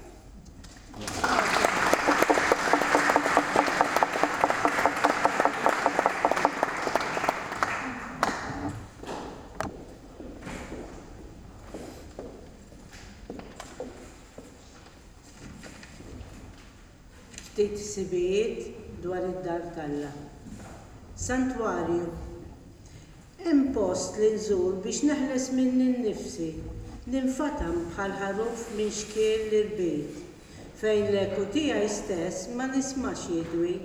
Ftit ħsibijiet dwar id-dar t'Alla. Santwarju. Hemm post li nżur biex neħles minni nnifsi, ninfatam bħal ħaruf minn xkiel l-irbit, fejn l-eku tiegħi stess ma nismax jidwi,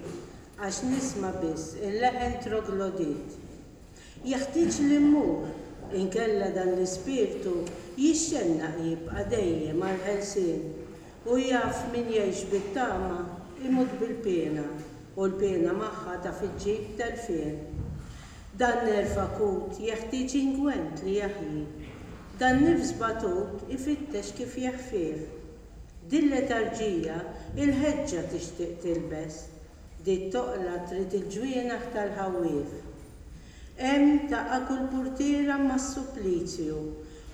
għax nisma' biss il-leħen troglodit. Jeħtieġ li mmur, inkella dan l-ispirtu jixxennaq jibqa' dejjem għall-ħelsien, u jaf min jgħix bit-tama jmut bil-piena, u l-piena magħha taf iġġib telfien. Dan nerv akut jeħtieġ ingwent li jaħji. Dan nifs batut ifittex kif jeħfieh. Dil-letarġija il-ħeġġa tixtieq tilbes, dit-toqla trid il-ġwienaħ tal-ħawwief. Hemm taqa' kull purtiera mas-supplizju,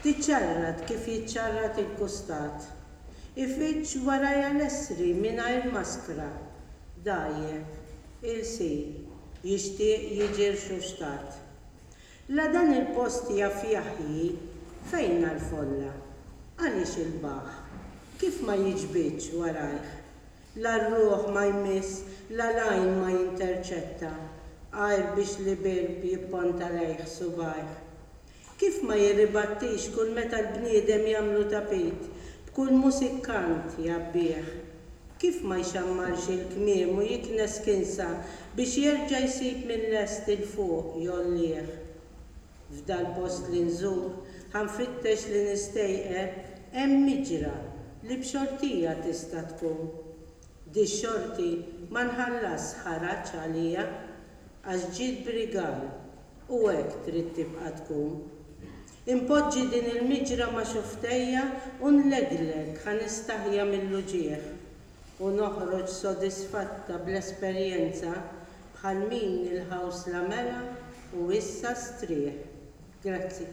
tiċċarrat kif jiċċarrat il-kustat. Ifiġġ warajha l-essri mingħajr maskra, dgħajjef, ilsir, jixtieq jiġi rxuxtat. La dan il-post jaf jaħji, fejnha l-folla? Għaliex il-baħħ? Kif ma jiġbidx warajh? La r-ruħ ma jmiss, la l-għajn ma jinterċetta, għajr biex l-ibirb jipponta lejh subgħajh. Kif ma jirribattix kull meta l-bniedem jagħmlu tapit, b'kull musikkant jgħabbih? Kif ma jxammarx il-kmiem u jiknes kinsa biex jerġa' jsib mil-lest 'il fuq jgħollih? F'dal-post li nżur, ħa nfittex li nistejqer, hemm miġra li b'xortija tista' tkun. Dix-xorti ma nħallasx ħaraġ għaliha, għax ġiet b'rigal u hekk trid tibqa' tkun. Inpoġġi din il-miġra ma' xufftejja u nlegleg ħa nistaħja mill-uġigħ u noħroġ sodisfatta bl-esperjenza bħal min il-ħawsla mela u issa strieħ. Grazzi.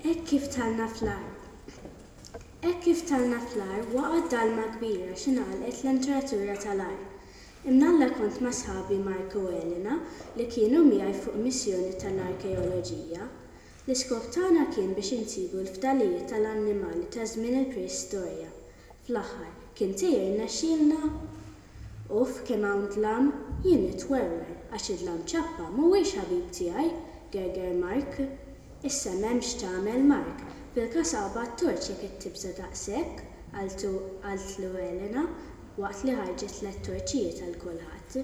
Hekk kif dħalna fl-għar. Hekk kif dħalna fl-għar waqgħet dalma kbira xi ngħalqet l-entratura tal-għar. Imnalla kont ma' sħabi Mark u Elena li kienu miegħi fuq missjoni tal-arkeoloġija. L-iskop tagħna kien biex insibu l-fdalijiet tal-annimali ta' żmien il-preistorja. Fl-aħħar, kien se jirnexxielna? Uff kemm hawn dlam, jien nitwerwer għax id-dlam ċappa mhuwiex ħabib tiegħi, gerger Mark. Issa m'hemm x'tagħmel Mark, fil-każ aqbad torċ jekk qed tibża' daqshekk, qaltu qaltlu Elena waqt li ħarġet tlett torċijiet għal kulħadd.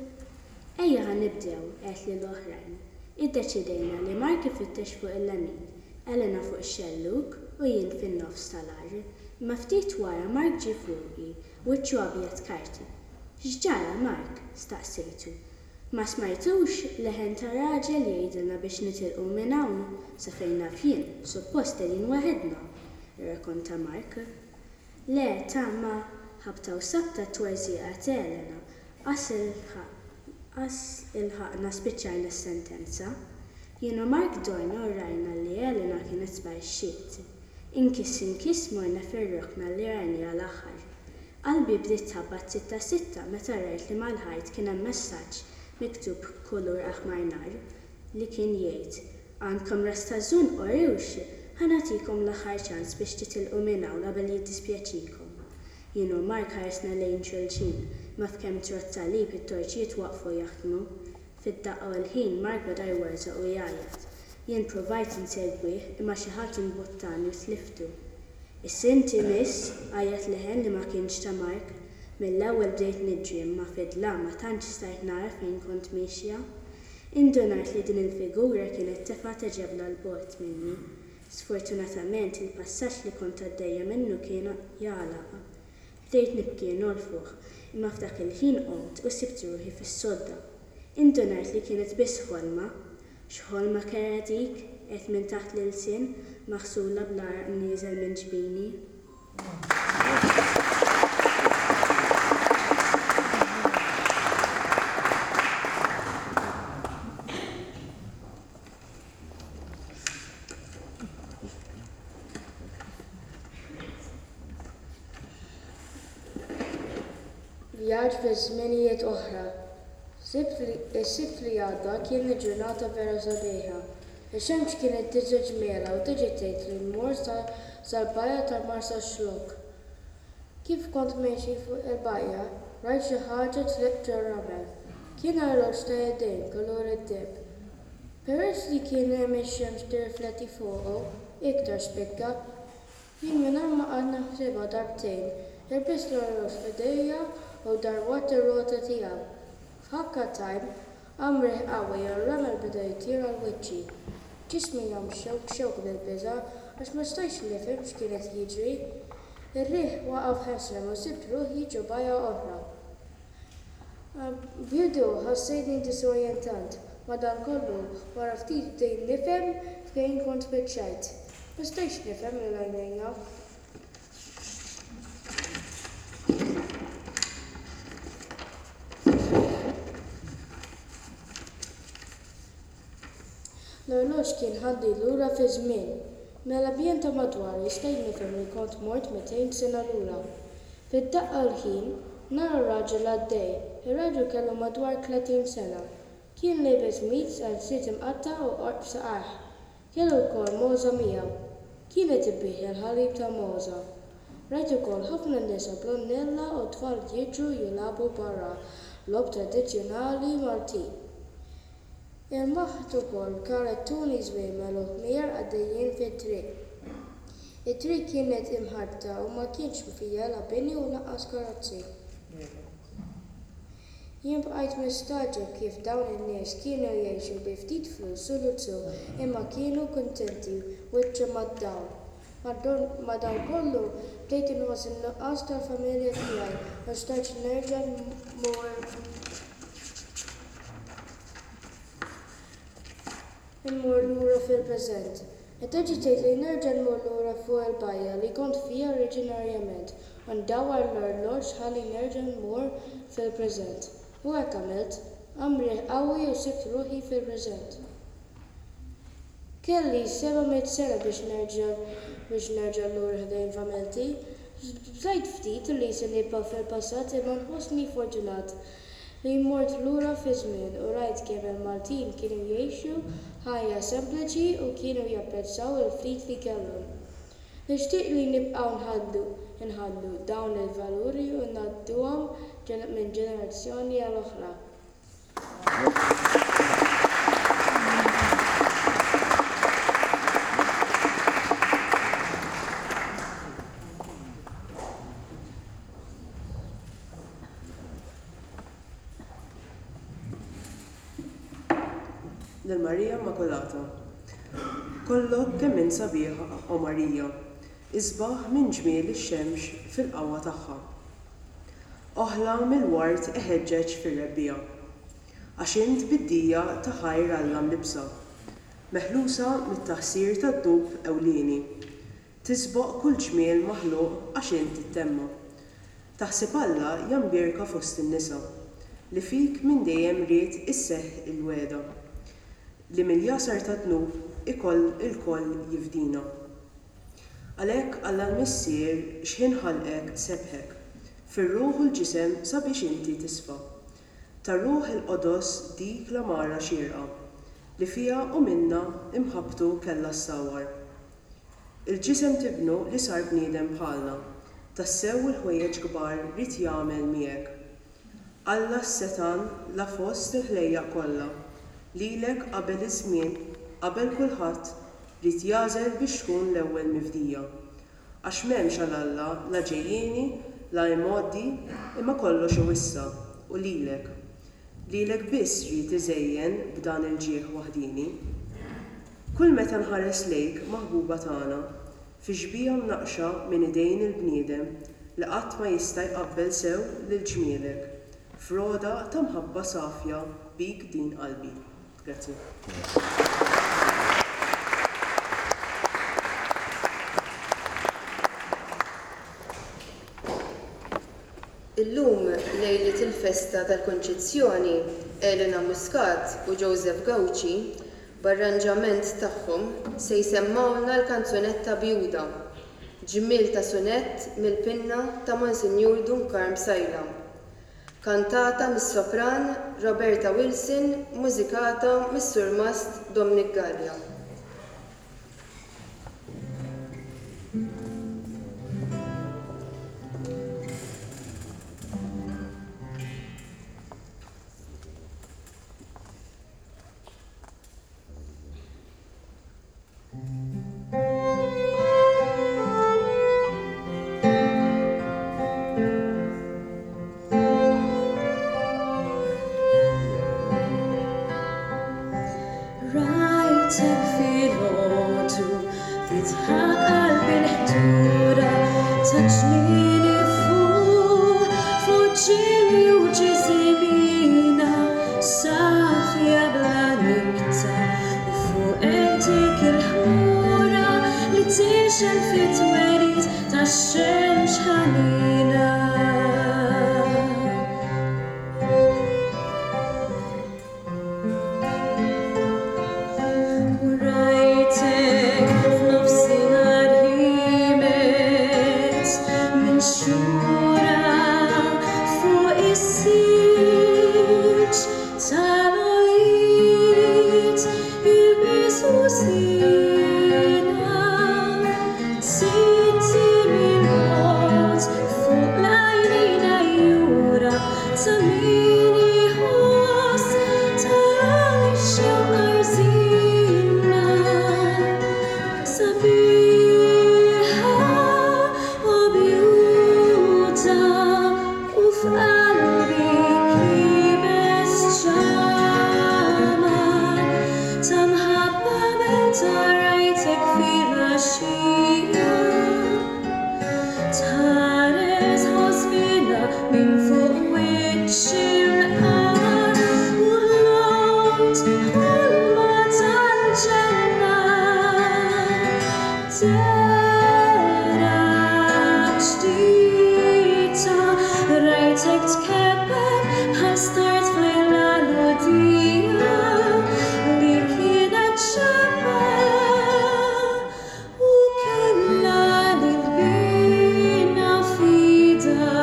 Ejja ħa nibdew, għedt lill-oħrajn. Iddeċidejna li Mark ifittex fuq il-lemin, Elena fuq ix-xellug u jien fin-nofs tal-għar. Imma ftit wara Mark ġie fuqi Wiċċu abjad karti. X'ġara, Mark? staqsejtu. Ma smajtux leħen ta' raġel jgħidilna biex nitilqu minn hawn? Sa fejn naf jien, suppost qegħdin waħedna, irrakonta Mark. Le, ta' ma, ħabta u sabta t-twerżiqa t'Elena, qas qas ilħaqna spiċċajna s-sentenza. Jien u Mark dorna u rajna li Elena kienet sparixxiet. Inkiss inkiss morna fir-rokna li rajniha l-aħħar. Qalbi bdiet tħabbat sitta sitta meta rajt li mal-ħajt kien hemm messaġġ miktub b'kulur aħmar nar li kien jgħid, Għandkom ras ta' żonqor hux? Ħa nagħtikom l-aħħar ċans biex titilqu minn hawn qabel jiddispjaċikom. Jien u Mark ħaresna lejn xulxin, ma f'kemm trodd salib it-torċijiet waqfu jaħdmu. Fid-daqqa u l-ħin Mark beda jwerżaq u jgħajjat. Jien pruvajt insegwih imma xi ħadd imbuttani u tliftu. Issa inti miss! għajjat leħen li ma kienx ta' Mark. Mill-ewwel bdejt niġri imma fid-dlam ma tantx stajt nara fejn kont miexja. Indunajt li din il-figura kienet tefgħet ġebla 'l bogħod minni. Sfortunatament il-passaġġ li kont għaddejja minnu kien jagħlaq. Bdejt nibki nolfoħ, imma f'dak il-ħin qomt u sibt ruħi fis-sodda. Indunajt li kienet biss ħolma. X'ħolma kerha dik, għedt minn taħt l-ilsien, maħsula bl-għaraq nieżel minn ġbini.
Vjaġġ fi żminijiet oħra. Is-Sibt li għadda kienet ġurnata vera sabiħa. Ix-xemx kienet diġà ġmielha u ddeċidejt li mmur sal-bajja ta' Marsaxlokk. Kif kont miexi fuq il-bajja, rajt xi ħaġa tliq ġor-ramel. Kien arloġġ ta' idejn kulur id-deheb. Peress li kien hemm ix-xemx tirrifletti fuqu, iktar spikka. Jien mingħajr ma qgħadt naħsibha darbtejn, ilbist l-orloġġ f'idejja u darwadt ir-rota tiegħu. F'ħakka t'għajn, qam riħ qawwi u r-ramel beda jtir għal wiċċi. Ġismi qam xewk xewk bil-biża' għax ma stajtx nifhem x'kien qed jiġri. Ir-riħ waqaf ħesrem u sibt ruħi ġo bajja oħra. Bidu ħassejtni disorjentant, madankollu wara ftit bdejt nifhem fejn kont spiċċajt. Ma stajtx nifhem lil għajnejja. L-orloġġ kien ħadni lura fiż-żmien. Mill-ambjent ta' madwari stajt nifhem li kont mort 200 sena lura. Fid-daqqa l-ħin, nara raġel għaddej. Ir-raġel kellu madwar 30 sena. Kien liebes qmis qalziet imqatta' u qorq f'saqajh. Kellu wkoll mogħża miegħu. Kien qed ibigħ il-ħalib tal-mogħża. Rajt ukoll ħafna nisa bl-għonnella u tfal jiġru jilagħbu barra logħob tradizzjonali Maltin. Ilmaħt ukoll karettuni żwiemel u ħmir għaddejjin fit-triq. It-triq kienet imħarbta u ma kienx fiha la bini u lanqas karozzi. Jien bqajt mistagħġeb kif dawn in-nies kienu jgħixu bi ftit flus u luzzu imma kienu kuntenti wiċċhom mad-dawl. Madankollu, bdejt inħoss in-nuqqas tal-familja tiegħi u xtaqt nerġa' mmur immur lura fil-preżent. Iddeċidejt li nerġa' nmur lura fuq il-bajja li kont fiha oriġinarjament u ndawwar l-orloġġ ħalli nerġa' mmur fil-preżent. U hekk għamilt. Qam riħ qawwi u sibt ruħi fil-preżent. Kelli 700 sena biex nerġa' biex nerġa' lura ħdejn familti. Bżajt ftit li se nibqa' fil-passat imma nħossni fortunat li mort lura fiż-żmien u rajt kemm il-Maltin kienu jgħixu ħajja sempliċi u kienu japprezzaw il-ftit li kellhom. Nixtieq li nibqgħu nħaddnu nħaddnu dawn il-valuri u ngħadduhom minn ġenerazzjoni għal oħra.
Lil Marija Immakulata. Kollok kemm int sabiħa, o Marija, isbaħ minn ġmiel ix-xemx fil-qawwa tagħha. Oħla mill-ward iħeġġeġ fir-rebbiegħa. Għax int bid-dija ta' ħajr Alla mlibbsa, meħlusa mit-taħsir tad-dnub ewlieni. Tisboq kull ġmiel maħluq għax int it-temma. Taħseb Alla ja mbierka fost in-nisa, li fik minn dejjem ried isseħħ il-wegħda, li mill-jasar tad-dnub ikoll ilkoll jifdina. Għalhekk Alla l-Missier x'ħin ħalqek sebbħek, fir-ruħ u l-ġisem sabiex inti tisfa. Ta Ruħ il-Qodos dik l-għamara xierqa, li fiha u minnha imħabbtu kellha ssawwar. Il-ġisem t'Ibnu li sar bniedem bħalna, tassew il-ħwejjeġ kbar ried jagħmel miegħek. Alla s-setgħan la fost il-ħlejjaq kollha, lilek qabel iż-żmien, qabel kulħadd, ried jagħżel biex tkun l-ewwel mifdija. Għax m'hemmx għal Alla la ġejjieni, la imgħoddi, imma kollox hu issa, u lilek. Lilek biss ried iżejjen b'dan il-ġieħ waħdieni. Kull meta nħares lejk, maħbuba tagħna, fi xbieha mnaqqxa minn idejn il-bniedem li qatt ma jista' jqabbel sew lil ġmielek, f'rogħda ta' mħabba safja bik din qalbi. Grazzi.
Illum, lejliet il-festa tal-Kunċizzjoni, Elena Muscat u Joseph Gauci B'arranġament tagħhom se jsemmgħulna l-kanzunetta Bjuda, ġmiel ta' sunett mill-pinna ta' Monsinjur Dun Karm Psaila. Kantata mis-sopran Roberta Wilson mużikata mis-Surmast Dominic Galea.
Rajtek filgħodu fitħa qalbi l-ħdura ta'. tixgħel fit-twelid tax-xemx ħanina. U rajtek f'nofsinhar ħiemet minn xura fuq is-silġ tal-għoljiet ilbies u żiena Sitti mill-bogħod fuq l-għajnejn għajjura ta' min iħoss tara lix-xewqa rżina sabiħa u bjuta u f'qalbi kibes ċamar ta' mħabba meta rajtek filgħaxija tħares ħosbina minn fuq wiċċ il-qamar u ħlomt ħolma tal-ġenna dehra ġdida rajtek tkebbeb bħal star tfajla Lhudija li kienet xebba u kellha lil binha f'idha.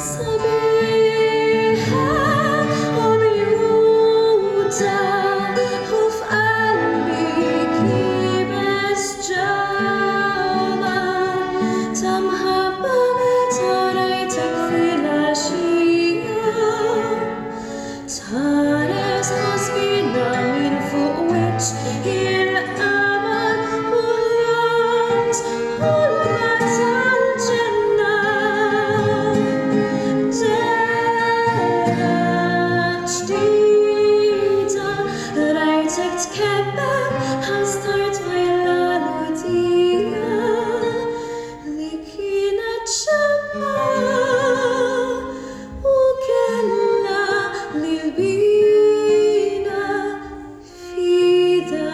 Sabiħa u bjuta u f'qalbi kibes ġamar ta' mħabba meta rajtek filgħaxija tħares ħosbina minn fuq wiċċ il-qamar u ħlomt ħolma tal-ġenna dehra ġdida rajtek tkebbeb bħal star tfajla Lhudija li kienet xebba u kellha lil binha f'idha.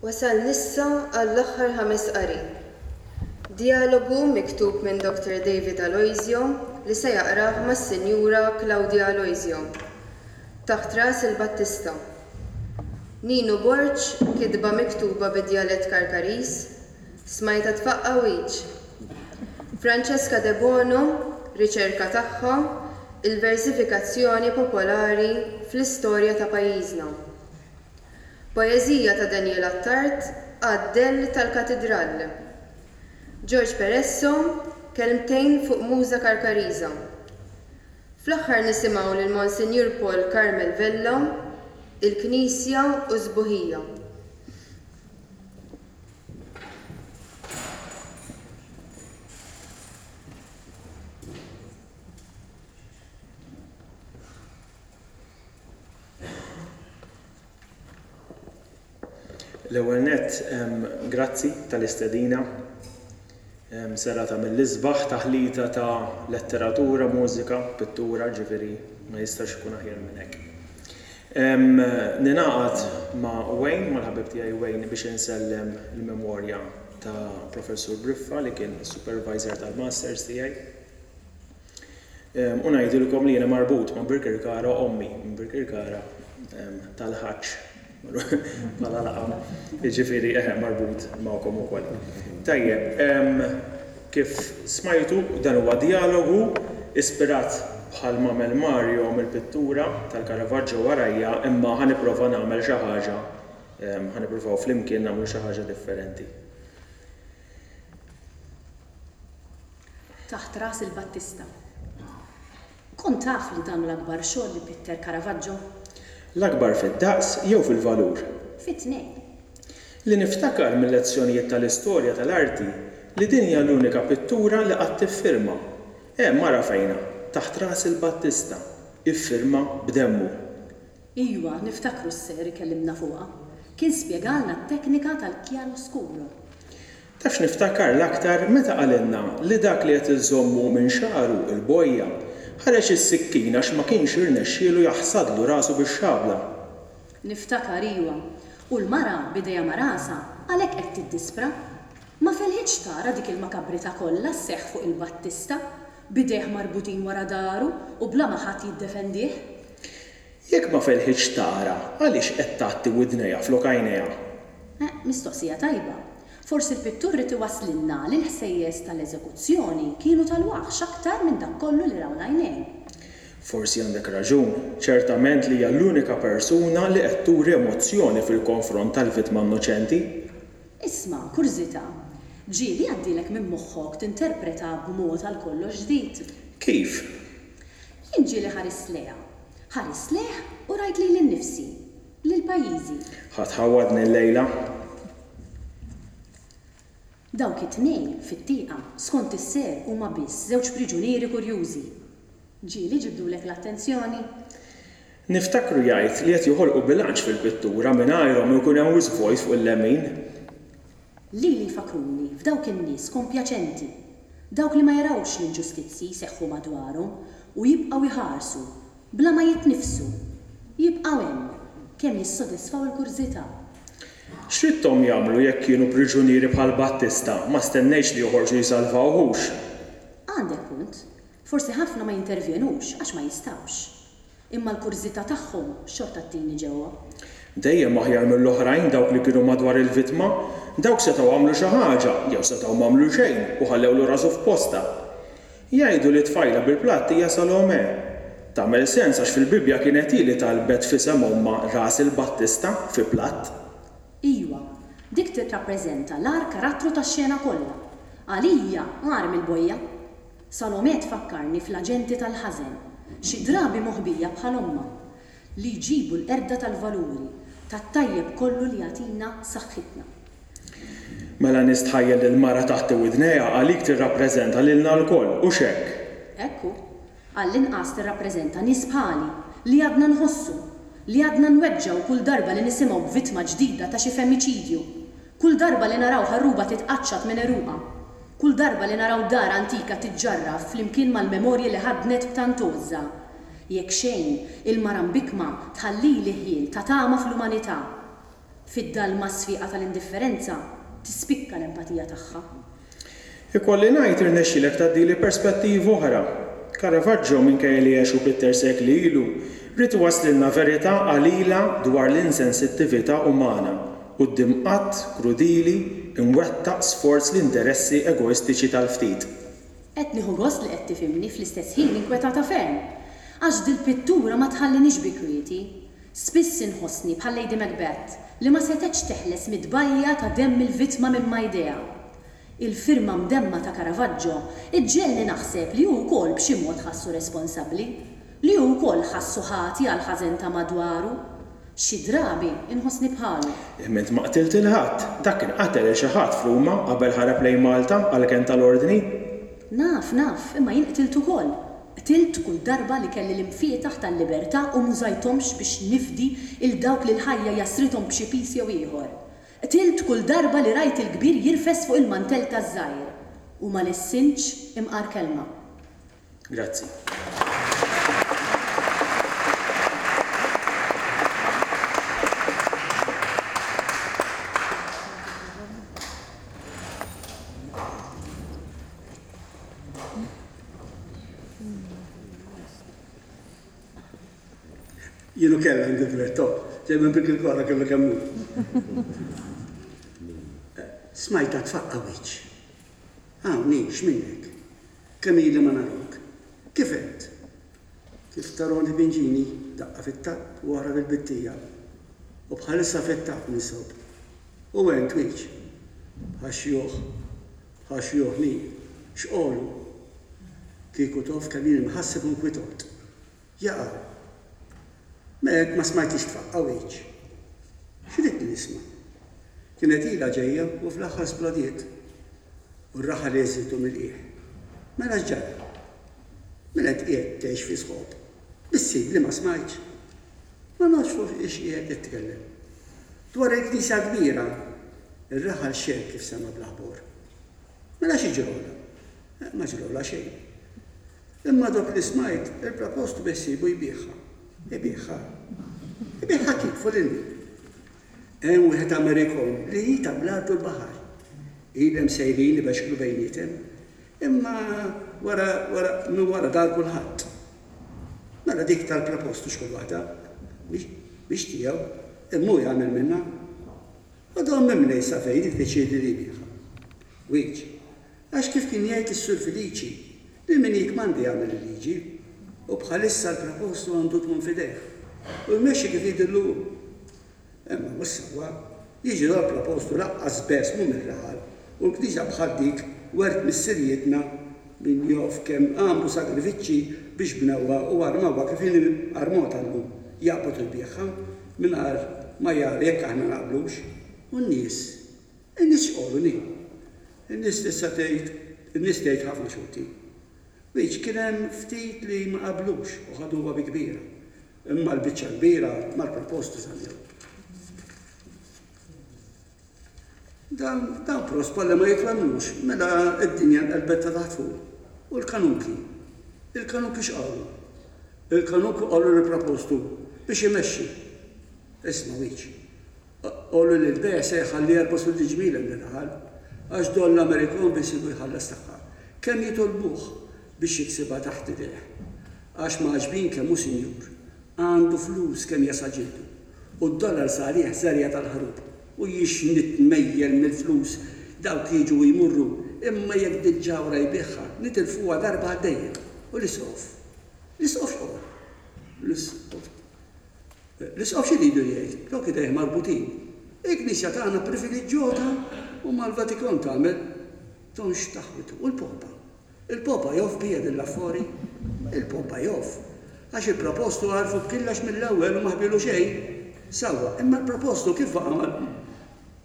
Wasalna issa għall-aħħar ħames qari. Djalogu miktub minn Dr. David Aloisio li se jaqrah mas-Sinjura Claudia Aloisio. Taħt ras il-Battista. Ninu Borg, kitba miktuba bid-djalett Karkariż, Smajtha tfaqqa' wiċċ. Francesca Debono, riċerka tagħha, Il-versifikazzjoni popolari fl-istorja ta' pajjiżna. Poeżija ta' Daniel Attard, Għad-dell tal-Katidral. George Peresso, Kelmtejn fuq Muża Karkariża. Fl-aħħar nisimgħu lil Monsinjur Paul Carmel Vella, Il-Knisja u s-Sbuħija.
L-ewwel nett, grazzi tal-istedina. Serata mill-isbaħ, taħlita ta' letteratura, mużika, pittura, ġifieri ma jistax ikun aħjar minn hekk. Ningħaqad ma' Wayne, mal-ħabib tiegħi Wayne biex insellem il-memorja ta' Professur Briffa li kien is-supervisor tal-masters tiegħi. U ngħidilkom li jiena marbut ma' Birkirkara ommi minn Birkirkara tal-ħaġġ bħala laqam, jiġifieri eħe marbut magħkom ukoll. Tajjeb, kif smajtu dan huwa djalogu ispirat bħal m'għamel Mario mill-pittura tal-Caravaggio warajja imma ħa nipprova nagħmel xi ħaġa. Ħa nippruvaw flimkien nagħmlu xi ħaġa differenti.
Taħt ras il-Battista. Kont taf li dan hu l-akbar xogħol li pitter Caravaggio?
L-akbar fid-daqs jew fil-valur?
Fit-tnejn.
Li niftakar mil-lezzjonijiet tal-istorja tal-arti li din hija l-unika pittura li qatt iffirma. Hemm ara fejnha, taħt ras il-Battista, iffirma b'demmu.
Iwa, niftakru s-Sir ikellimna fuqha. Kien spjegalna t-teknika tal-chiaroscuro.
Taf x'niftakar l-aktar meta qalilna li dak li qed iżommu minn xagħru, il-bojja, ħareġ is-sikkina għax ma kienx irnexxielu jaħsadlu rasu bix-xabla.
Niftakar, iwa. U l-mara, b'idejha ma' rasha, għalhekk qed tiddispra. Ma felħitx tara dik il-makabrità kollha sseħħ fuq il-Battista, b'idejh marbutin wara dahru u bla ma ħadd jiddefendih.
Jekk ma felħitx tara, għaliex qed tgħatti widnejha flok għajnejha?
Eh, mistoqsija tajba. Forsi l-pittur ried iwasslilna li l-ħsejjes tal-eżekuzzjoni kienu tal-waħx aktar minn dak kollu li raw l-għajnejn.
Forsi għandek raġun. Ċertament li hija l-unika persuna li qed turi emozzjoni fil-konfront tal-vittma innoċenti.
Isma', kurżità. Ġieli għaddielek minn moħħok tinterpreta b'mod għal kollox ġdid?
Kif?
Jien ġieli ħarist lejha. Ħarist lejh u rajt lili nnifsi. Lil pajjiżi.
Ħa tħawwadni llejla.
Dawk it-tnejn fit-tieqa, skont is-Sir huma biss żewġ priġunieri kurjużi. Ġieli ġibdulek l-attenzjoni?
Niftakru jgħid li qed joħolqu bilanċ fil-pittura mingħajrhom ikun hemm wisq vojt fuq il-lemin.
Lili jfakkruni f'dawk in-nies kompjaċenti, dawk li ma jarawx l-inġustizzji jseħħu madwarhom u jibqgħu jħarsu, bla ma jitniffsu. Jibqgħu hemm, kemm jissodisfaw il-kurżità.
X'ridthom jagħmlu jekk kienu priġunieri bħal Battista, ma stennejtx li joħorġu jsalvaw hux.
Għandek punt. Forsi ħafna ma jintervjenux għax ma jistgħux. Imma l-kurżità tagħhom xorta ttini ġewwa.
Dejjem aħjar mill-oħrajn dawk li kienu madwar il-vittma. Dawk setgħu għamlu xi ħaġa, jew setgħu m'għamlu xejn u ħallewlu rasu f'postha. Jgħidu li t-tfajla bil-platt hija Salome. Tagħmel sens għax fil-Bibbja kienet hi li talbet f'isem ommha ras il-Battista fi platt.
Iwa, dik tirrappreżenta l-agħar karattru tax-xena kollha. Għalija, agħar mill-bojja. Salomè tfakkarni fl-aġenti tal-ħażen, xi drabi moħbija bħal ommha, li jġibu l-qerda tal-valuri, tat-tajjeb kollu li jagħtina saħħitna.
Mela nistħajjel li l-mara taħt widnejha għalik tirrappreżenta lilna lkoll, hux hekk?
Hekk hu. Għall-inqas tirrappreżenta nies bħali, li għadna nħossu, li għadna nweġġgħu kull darba li nisimgħu b'vittma ġdida ta' xi femmiċidju, kull darba li naraw ħarruba titqaċċat minn għeruqha, Kull darba li naraw dar antika tiġġarraf flimkien mal-memorji li ħaddnet b'tant għożża. Jekk xejn, il-mara mbikkma tħallili ħjiel ta' tama fl-umanità. Fid-dalma sfiqa tal-indifferenza tispikka l-empatija tagħha.
Ikolli ngħid irnexxielek tgħaddili perspettiva oħra. Caravaggio, minkejja li għex u pitter sekli ilu, ried iwasslilna verità qalila dwar l-insensittività umana quddiem att krudili imwettaq sforz l-interessi egoistiċi tal-ftit.
Qed nieħu gost li qed tifhimni fl-istess ħin inkwetata ferm. Għax dil-pittura ma tħallinix bi kwieti. Spiss inħossni bħal Lady Macbeth li ma setgħetx teħles mit-tbajja ta' demm il-vittma minn ma' jdejha. Il-firma mdemma ta' Caravaggio ġġegħelni naħseb li hu wkoll b'xi mod ħassu responsabbli. Li hu wkoll ħassu ħati għall-ħażen ta' madwaru. Xi drabi nħossni bħalu.
Imma int ma qtilt 'il ħadd. Dak kien qatel 'il xi ħadd f'Ruma qabel ħarab lejn Malta għall-kenn tal-Ordni.
Naf, naf, imma jien qtilt ukoll. Qtilt kull darba li kelli l-imfietaħ tal-libertà u m'użajthomx biex nifdi 'il dawk li l-ħajja jassrithom b'xi piż jew ieħor. Qtilt kull darba li rajt il-kbir jirfes fuq il-mantell taż-żgħir. U ma lissintx imqar kelma.
Grazzi.
Jien ukoll għandi duetto, ġej minn Birkirkara kellu kemm hu. Smajtha tfaqqa' wiċċ. Hawn hi, x'minnek? Kemm ili ma narak? Kif int? Kif taroni pinġini, daqqa fit-tapp u oħra fil-bittija. U bħalissa fit-tap ninsob. U ent wiċċ? Bħax-xjuħ. Bħax-xjuħ li. X'qolu? Kieku tof kemm jien imħasseb u nkwitot. Jaqaw. Mela int ma smajtix tfaqqa' wiċċ. X'ridtni nisma'? Kienet ilha ġejja u fl-aħħar splodiet. U r-raħal għeżżitu mill-qiegħ. Mela x'ġara? Mela int qiegħed tgħix fi sħob. Bissib li ma smajtx. Ma nafx fuq xiex qiegħed titkellem. Dwar il-knisja l-kbira! Ir-raħal xegħel kif sema' bl-aħbor. Mela xi ġrolha? Ma ġrolha xejn. Imma dok li smajt, il-propostu beħsiebu jbigħha. Ibigħha? Ibigħha kif u lil min? Hemm wieħed Amerikon li hi ta' bl-art u l-baħar. Ilhom sejrin ibexklu bejniethom. Imma wara, wara, minn wara dar kulħadd. Mela dik tal-propostu x'kull waħda. Mhix, mhix tiegħu, imma hu jagħmel minnha. U dom mimlej sa fejn iddeċiedi li jbigħha. Wiċ. Għax kif kien jgħid is-Sur Feliċi, lil min jikkmanda jagħmel il-liġi. U bħalissa l-Prepostu għandu tmun f'idejh. U jmexxi kif jidhirlu hu. Imma mhux sewwa. Jiġi dal-Prepostu laqqas bes mhu mir-raħal, u l-knisja bħal dik wert missirijietna min jof kemm għamlu sagrifiċċji biex bnewha u armawha kif inhi armota llum, jaqbad u jbigħha mingħajr ma jara jekk aħna naqblux. U n-nies? In-nies x'qolu ni? In-nies tista' tgħid, in-nies tgħid ħafna xorti. Which kien hemm ftit li ma qablux u ħaduha bi kbira. Imma l-biċċa l-kbira mal-proposti żammew. Dawn, dawn prospa li ma jitwemmnux, mela d-dinja nqelbet ta' taħt fuq. U l-kanunki? Il-kanunki x'qalu? Il-kanunki qalu lill-propostu biex imexxi. Isma' Which. Qolu li l-bejgħ se jħalli 64 ġmiel hemm ir-raħal, għax Don l-Amerikon biħsiebu jħallas tagħha. Kemm jitolbuh biex jiksibha taħt idejh. Għax m'għaġbin kemm hu sinjur. Għandu flus kemm jasa' ġildu. U d-dollars għalih żerja tal-ħarub. U jiex nitmejjel mill-flus, dawk jiġu u jmurru, imma jekk dil-ġawhra jbigħha, nitilfuha darba għal dejjem. U l-Isqof? L-Isqof x'qol? L-Isqof. L-Isqof x'iridu jgħid? Dawk idejh marbutin. Il-Knisja tagħna priviliġġjota u mal-Vatikan tagħmel tonx taħwitu. U l-Popa? Il-Popa jof bija din l-affori? Il-Popa jof. Għax il-propostu għarfu b'killex mill-ewwel u ma ħbielu xejn. Sewwa, imma l-propostu kif baqa'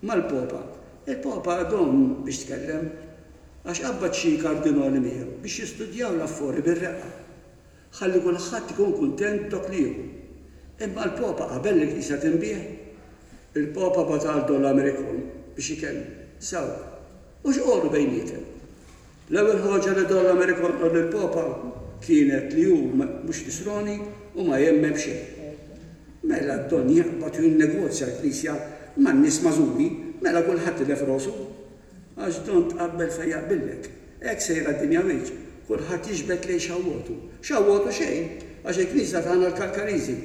mal-Popa? Il-Popa dom biex tkellem. Għax qabbad xi kardinali miegħu biex jistudjaw l-affori bir-reqqa. Ħalli kulħadd ikun kuntent b'dok li jieħu. Imma l-Popa qabel li l-Knisja tinbiegħ? Il-Popa bagħat għal Don Americon biex ikellmu. Sewwa. U x'qolu bejniethom? L-ewwel ħoġa li Don Americon qal lill-Popa kienet li hu mhux Nisrani u ma jemmen b'xejn. Mela d-Don jaqbad u jinnegozja l-Knisja man-nies magħżuli, mela kulħadd tilef rosu. Għax don tqabbel fejn jaqbillek. Hekk sejra d-dinja wiċċ. Kulħadd jiġbed lejn xawwotu. Xawwotu xejn! Għax il-Knisja tagħna l-Kalkariżi.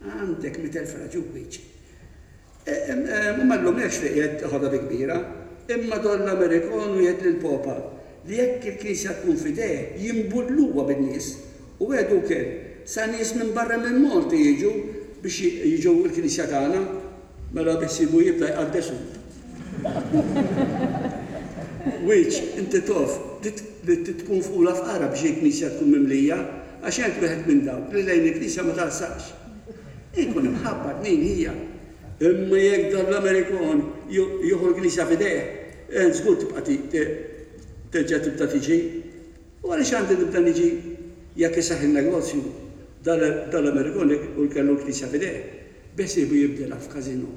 Għandek 100,000 raġun wiċċ. U ma nlumekx li qiegħed teħodha bi kbira. Imma Don l-Amerikon wiegħed lill-Popa li jekk il-Knisja tkun f'idejh jimbulluha bin-nies. U wegħdu wkoll sa nies minn barra minn Malta jiġu biex jiġu l-Knisja tagħna. Mela biħsiebu jibda jqaddes hu. Wiċ, inti tof li trid tkun fqula fqara biex il-knisja tkun mimlija, għax ent wieħed minn dawk li lejn il-knisja ma tarsaqx. Inkun imħabbat min hija. Imma jekk dan l-Amerikon jieħu l-knisja f'idejh, ent żgur tibqa' terġa' tibda tiġi. U għaliex għandi nibda niġi jekk iseħħ in-negozju dan l-Amerikon u jkellu l-knisja f'idejh? Beħsiebu jibdilha f'każinò.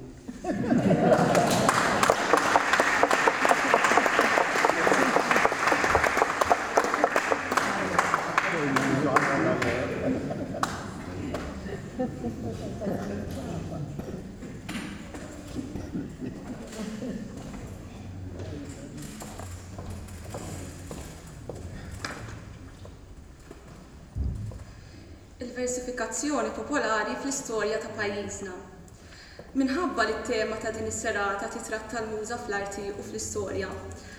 Il-versifikazzjoni popolari fl-istorja ta' pajjiżna. Minħabba li t-tema ta' din is-serata titratta l-muża fl-arti u fl-istorja,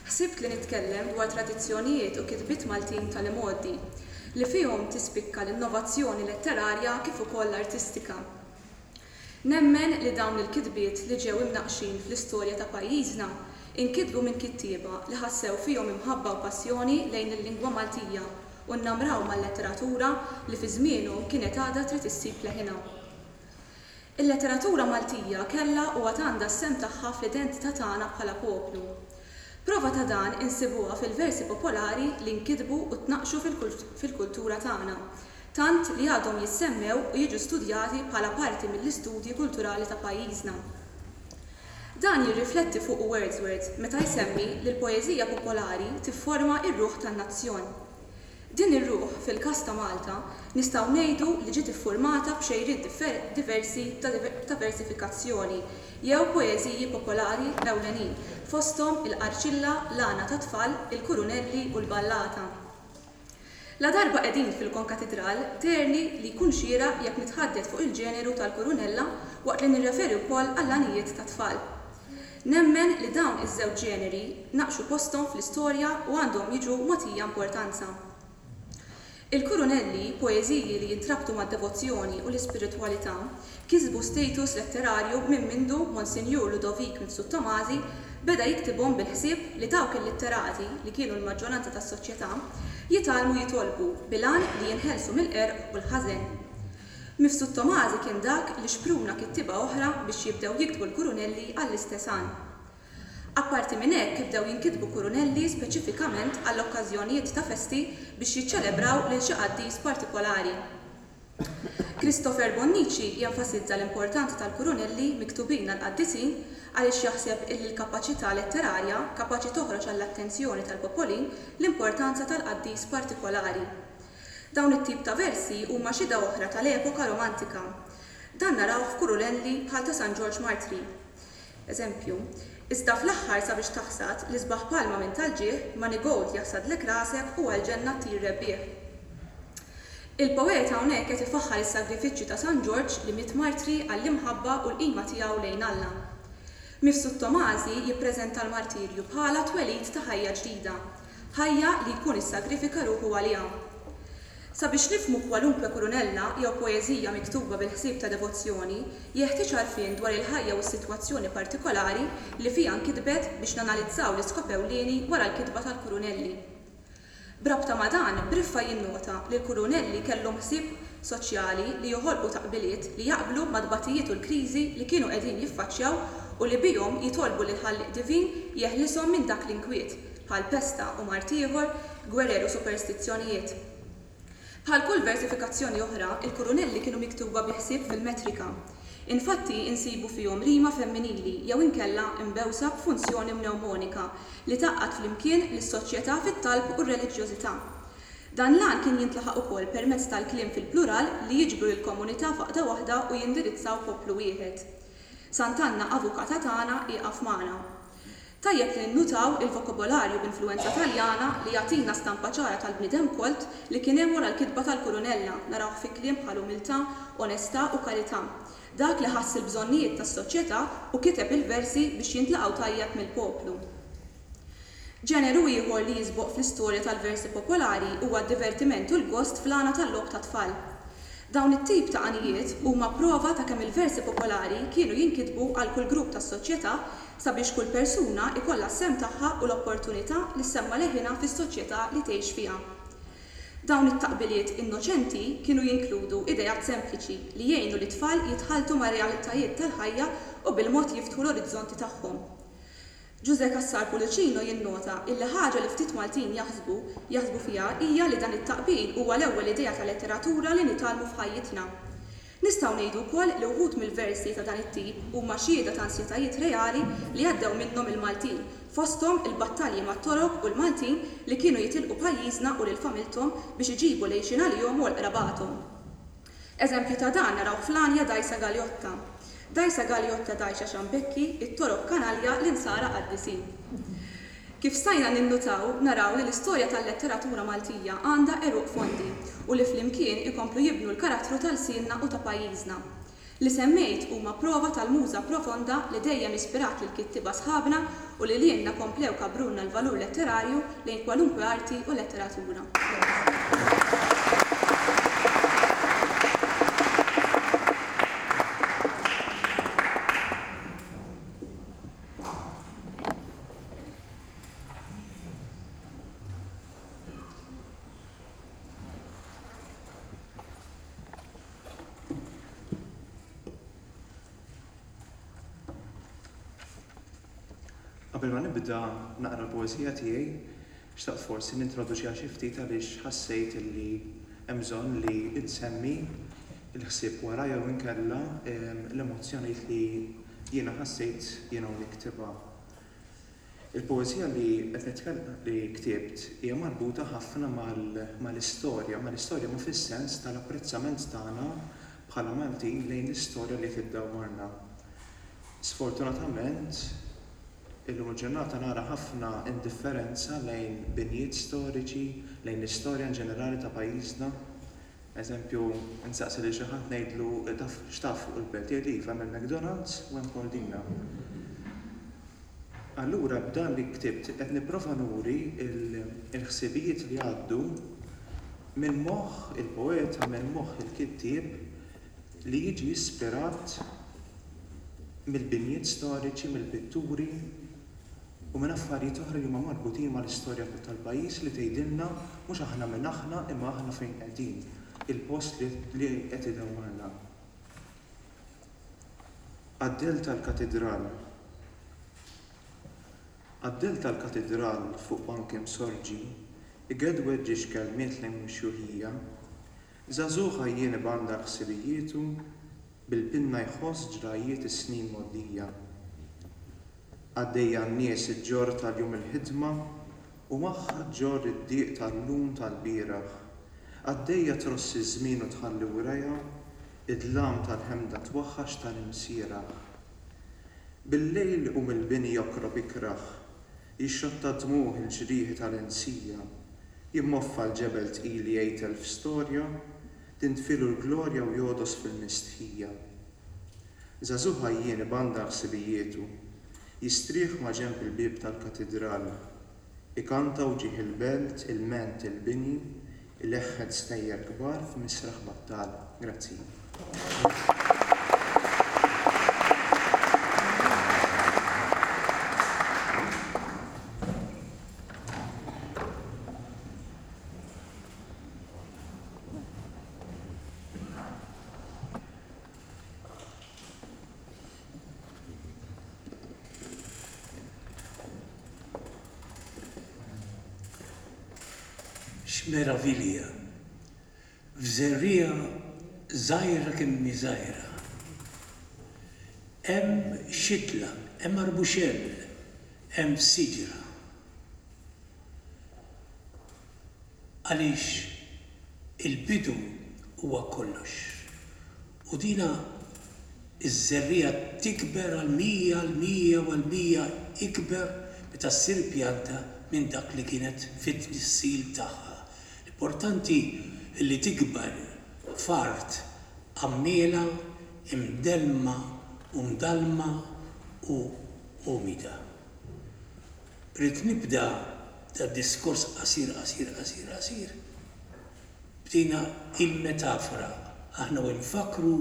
ħsibt li nitkellem dwar tradizzjonijiet u kitbiet Maltin tal-imgħoddi, li fihom tispikka l-innovazzjoni letterarja kif ukoll artistika. Nemmen li dawn il-kitbiet li ġew imnaqqxin fl-istorja ta' pajjiżna inkitbu minn kittieba li ħassew fihom imħabba u passjoni lejn il-lingwa Maltija u nnamraw mal-letteratura li fi żmienhom kienet għadha trid issib leħinha. Il-letteratura Maltija kellha u għad għandha s-sehem tagħha fl-identità tagħna bħala poplu. Prova ta' dan insibuha fil-versi popolari li nkitbu u tnaqqxu fil-kultura tagħna, tant li għadhom jissemmew u jiġu studjati bħala parti mill-istudji kulturali ta' pajjiżna. Dan jirrifletti fuqu Wordsworth meta jsemmi li l-poeżija popolari tifforma r-ruħ tan-nazzjon. Din ir-ruħ, fil-każ ta' Malta, nistgħu ngħidu li ġiet iffurmata b'xejriet diversi ta' versifikazzjoni jew poeżiji popolari ewlenin, fosthom il-qarċilla, l-għana tat-tfal, il-kurunelli u l-ballata. Ladarba qegħdin fil-Konkatidral, deherli li jkun xieraq jekk nitħaddet fuq il-ġeneru tal-kurunella waqt li nirreferi wkoll għall-għanijiet tat-tfal. Nemmen li dawn iż-żewġ ġeneri naqxu posthom fl-istorja u għandhom jiġu mogħtija importanza. Il-kurunelli, poeżiji li jintrabtu mad-devozzjoni u l-ispiritwalità, kisbu status letterarju minn mindu Monsinjur Ludovik Mifsud Tomasi beda jiktibhom bil-ħsieb li dawk illitterati, li kienu l-maġġoranza tas-soċjetà, jitgħallmu jitolbu bil-għan li jinħelsu mill-qerq u l-ħażen. Mifsud Tomasi kien dak li xpruna kittieba oħra biex jibdew jiktbu l-kurunelli għall-istess għan. Apparti minn hekk bdew jinkitbu kurunelli speċifikament għall-okkażjonijiet ta' festi biex jiċċelebraw lil xi qaddis partikolari. Christopher Bonnici jenfasizza l-importanza tal-kurunelli miktubin għall-qaddisin għaliex jaħseb illi l-kapaċità letterarja kapaċi toħroġ għall-attenzjoni tal-popolin l-importanza tal-qaddis partikolari. Dawn it-tip ta' versi huma xhieda oħra tal-epoka Romantika. Dan narawh f'kurunelli bħal ta' San Ġorġ Martri. Eżempju, Iżda fl-aħħar sabiex taħsad l-isbaħ palma minn tal-ġieħ, Manigold jaħsadlek rasek u għall-ġenna ttir rebbieħ. Il-poeta hawnhekk qed ifaħħar is-sagrifiċċju ta' San Ġorġ li miet martri għall-imħabba u l-qima tiegħu lejn Alla. Mifsud Tomasi jippreżenta l-martirju bħala twelid ta' ħajja ġdida, ħajja li jkun issagrifika ruħu għaliha. Sabiex nifhmu kwalunkwe kurunella jew poeżija miktuba bil-ħsieb ta' devozzjoni, jeħtieġ għarfien dwar il-ħajja u s-sitwazzjoni partikolari li fiha nkitbet biex nanalizzaw l-iskop ewlieni wara l-kitba tal-kurunelli. B'rabta ma' dan, Briffa jinnota li l-kurunelli kellhom ħsieb soċjali li joħolqu taqbiliet li jaqblu mat-tbatijiet u l-kriżi li kienu qegħdin jiffaċċjaw u li bihom jitolbu lill-Ħallieq Divin jeħlishom minn dak l-inkwiet, bħal pesta u mard ieħor, gwerer u superstizzjonijiet. Bħal kull versifikazzjoni oħra, il-kurunelli kienu miktuba bi ħsieb fil-metrika. Infatti, insibu fihom rima femminili jew inkella mbewsa b'funzjoni mnewmonika li tgħaqqad flimkien lis-soċjetà fit-talb u r-reliġjożità. Dan l-għan kien jintlaħaq ukoll permezz tal-kliem fil-plural li jiġbru lill-komunità f'għaqda waħda u jindirizzaw poplu wieħed. Sant'Anna Avukata tagħna ieqaf magħna. Tajjeb li ninnutaw il-vokabolarju b'influwenza Taljana li jagħtina stampa ċara tal-bniedem kolt li kien hemm wara l-kitba tal-Kurunella, narawh fi kliem bħal umiltà, onestà u karità. Dak li ħass il-bżonnijiet tas-soċjetà u kiteb il-versi biex jintlaqgħu tajjeb mill-poplu. Ġeneru ieħor li jisboq fl-istorja tal-versi popolari huwa d-divertiment u l-gost fl-għana tal-logħob tat-tfal. Dawn it-tip ta' għanijiet huma prova ta' kemm il-versi popolari kienu jinkitbu għal kull grupp tas-soċjetà sabiex kull persuna jkollha s-sehem tagħha u l-opportunità li ssemma' leħinha fis-soċjetà li tgħix fiha. Dawn it-taqbiliet innoċenti kienu jinkludu ideat sempliċi li jgħinu lit-tfal jitħalltu mar-realtajiet tal-ħajja u bil-mod jiftħu l-orizzonti tagħhom. Ġużè Cassar Pullicino jinnota illi ħaġa li ftit Maltin jaħsbu jaħsbu fiha hija li dan it-taqbil huwa l-ewwel idea ta' letteratura li nitgħallmu f'ħajjitna. Nistgħu ngħidu wkoll li wħud mill-versi ta' dan it-tip huma xhieda ta' ansjetajiet reali li għaddew minnhom il-Maltin, fosthom il-battalji mat-Torok u l-Maltin li kienu jitilqu pajjiżna u lil familthom biex iġibu l-għixien għalihom u għal qrabathom. Eżempju ta' dan narawh fl-għanja Dgħajsa Galjotta. Dgħajsa Galjotta dgħajxa xambekki, it-Torok kanalja, l-Insara qaddisin. Kif stajna ninnutaw, naraw li l-istorja tal-letteratura Maltija għandha għeruq fondi u li flimkien ikomplu jibnu l-karattru ta' lsienna u ta' pajjiżna. Li semmejt huma prova tal-muża profonda li dejjem ispirat lill-kittieba sħabna u li lilna komplew kabbrulna l-valur letterarju lejn kwalunkwe arti u letteratura.
Qabel ma nibda naqra l-poeżija tiegħi, xtaqt forsi nintroduċiha xi ftit għaliex ħassejt li hemm bżonn li nsemmi l-ħsieb wara jew inkella l-emozzjonijiet li jiena ħassejt jiena u niktibha. Il-poeżija li qed nitkellem li ktibt hija marbuta ħafna mal-istorja, mal-istorja ma fis-sens tal-apprezzament tagħna bħala Maltin lejn l-istorja li qed iddawwarna. Sfortunatament, illum il-ġurnata nara ħafna indifferenza lejn binjiet storiċi, lejn l-istorja in ġenerali ta' pajjiżna. Eżempju, insaqsi lil xi ħadd ngħidlu taf x'taf fuq il-belt, jgħidli iva hemm il-McDonald's u hemm Cordina. Allura b'dan li ktibt qed nipprova nuri l-ħsibijiet li jgħaddu minn moħħ il-poeta, minn moħħ il-kittieb li jiġi ispirat mill-binjiet storiċi, mill-pitturi u minn affarijiet oħra li huma marbutin mal-istorja tal-pajjiż li tgħidilna mhux aħna min aħna imma aħna fejn qegħdin, il-post li qed idawwarna. Għad-dell tal-Katidral Għad-dell tal-Katidral fuq bank imsorġi, igedwed ġiex kelmiet lejn ix-xjuħija, Żagħżugħ għajjien ibandar ħsibijietu, bil-pinna jħoss ġrajjiet is-snin mgħoddija. Għaddejja n-nies iġġorr tal-jum il-ħidma u magħha ġġorr id-dieq tal-lum tal-bieraħ. Għaddejja tross iż-żmien u tħalli wrajha id-dlam tal-ħemda twaħħax tal-imsieraħ. Bil-lejl iqum il-bini jokrob ikrah, jixxotta d-dmugħ il-ġrieħi tal-insija. Jimmoffa l-ġebel tqil jgħid elf storja, tintfielu l-glorja u jogħdos fil-mistħija. Żagħżugħ għajjien ibandar ħsibijietu, jistrieħ maġenb il-bieb tal-katidral. Ikanta wġigħ il-belt, ilment il-bini, ileħħet stejjer kbar f'misraħ battal. Grazzi.
X'meravilja! F'żerriegħa żgħira kemm hi żgħira, hemm xitla, hemm arbuxell, hemm siġra. Għaliex il-bidu huwa kollox. U dina ż-żerriegħa tikber għal 100, għal 100 u għal 100 ikber meta ssir pjanta minn dak li kienet fit-tnissil tagħha. L-importanti li tikber f'art għammiela, imdellma u mdallma u umida. Ridt nibda dad-diskors qasir qasir qasir qasir b'dina il-metafora, aħna u nfakkru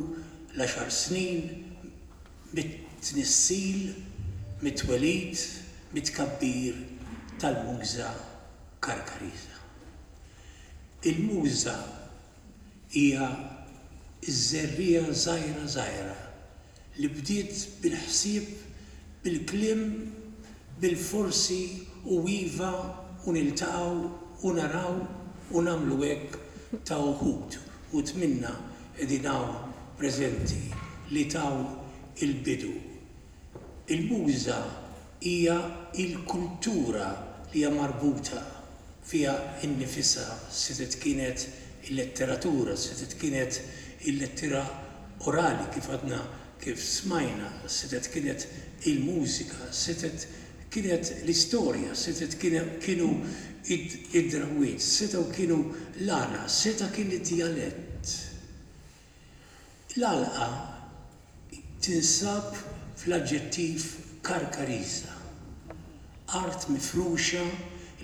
l-għaxar snin mit-tnissil, mit-twelid, mit-tkabbir tal-muża Karkariża. Il-muża hija ż-żerriegħa żgħira żgħira li bdiet bil-ħsieb, bil-kliem, bil-forsi u iva u niltaqgħu u naraw u nagħmlu hekk ta' uħud, uħud minna qegħdin hawn preżenti li taw il-bidu. Il-muża hija l-kultura li hija marbuta fiha nnifisha, setgħet kienet il-letteratura, setgħet kienet il-lettera orali kif għadna kif smajna, setgħet kienet il-mużika, setgħet kienet l-istorja, setgħet kienu id-drawwiet, setgħu kienu l-għana, seta' kien id-djalett. L-għalqa tinsab fl-aġġettiv Karkariża, art mifruxa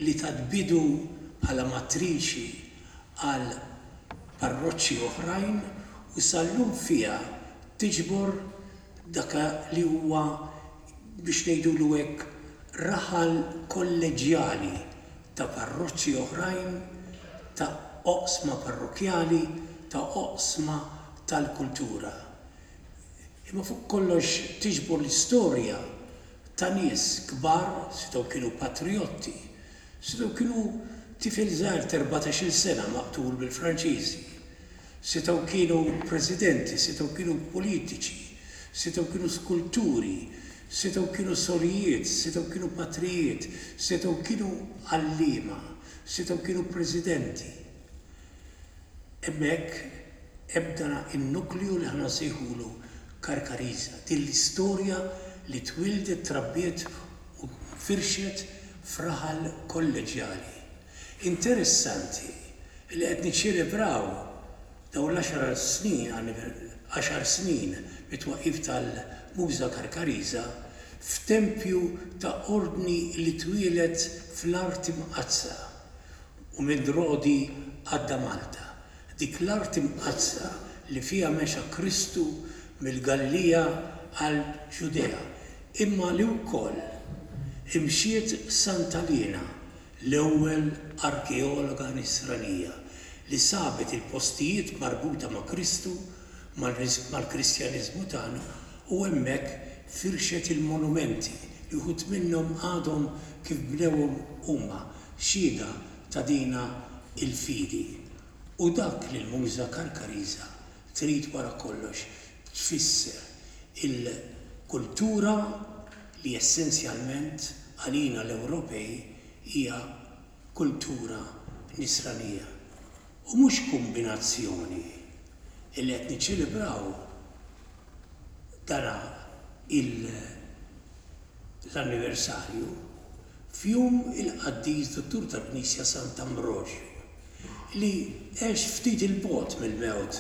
li tat bidu bħala matriċi għal parroċċi oħrajn u sal-lum fiha tiġbor dak li huwa biex ngħidulu hekk raħal kolleġġjali ta' parroċċi oħrajn, ta' oqsma parrokkjali, ta' oqsma tal-kultura. Imma fuq kollox tiġbor l-istorja.
ta' nies kbar, setgħu kienu patrijotti, setgħu kienu tifel żgħir t'erbatax-il sena maqtul mill-Franċiżi, setgħu kienu presidenti, setgħu kienu politiċi, setgħu kienu skulturi, setgħu kienu sorijiet, setgħu kienu patrijiet, setgħu kienu għalliema, setgħu kienu presidenti. Hemmhekk hemm dan in-nukleu li aħna nsejħulu Karkariża, din l-istorja li twieldet, trabbiet u nfirxet f'raħal kolleġjali. Interessanti li qed niċċelebraw dawn l-għaxar snin, għaxar snin mit-twaqqif tal-Muża Karkariża f'tempju ta' ordni li twieled fl-Art Imqaddsa u minn Rodi għadda Malta, dik l-art imqaddsa li fiha mexa Kristu mill-Galilija għall-Ġudea, imma li wkoll imxiet Santa Liena, l-ewwel arkeologa Nisranija li sabet il-postijiet marbuta ma' Kristu, mal-Kristjaniżmu tagħna u hemmhekk firxet il-monumenti li wħud minnhom għadhom kif bnewhom huma, xhieda ta' dina il-fidi. U dak li l-muża Karkariża trid wara kollox tfisser il-kultura li essenzjalment għalina l-Ewropej hija kultura Nisranija. U mhux kumbinazzjoni illi qed niċċelebraw dana il l-anniversarju f'jum il-qaddis Duttur tal-Knisja Sant'Ambroġju, li għex ftit 'il bogħod mill-mewt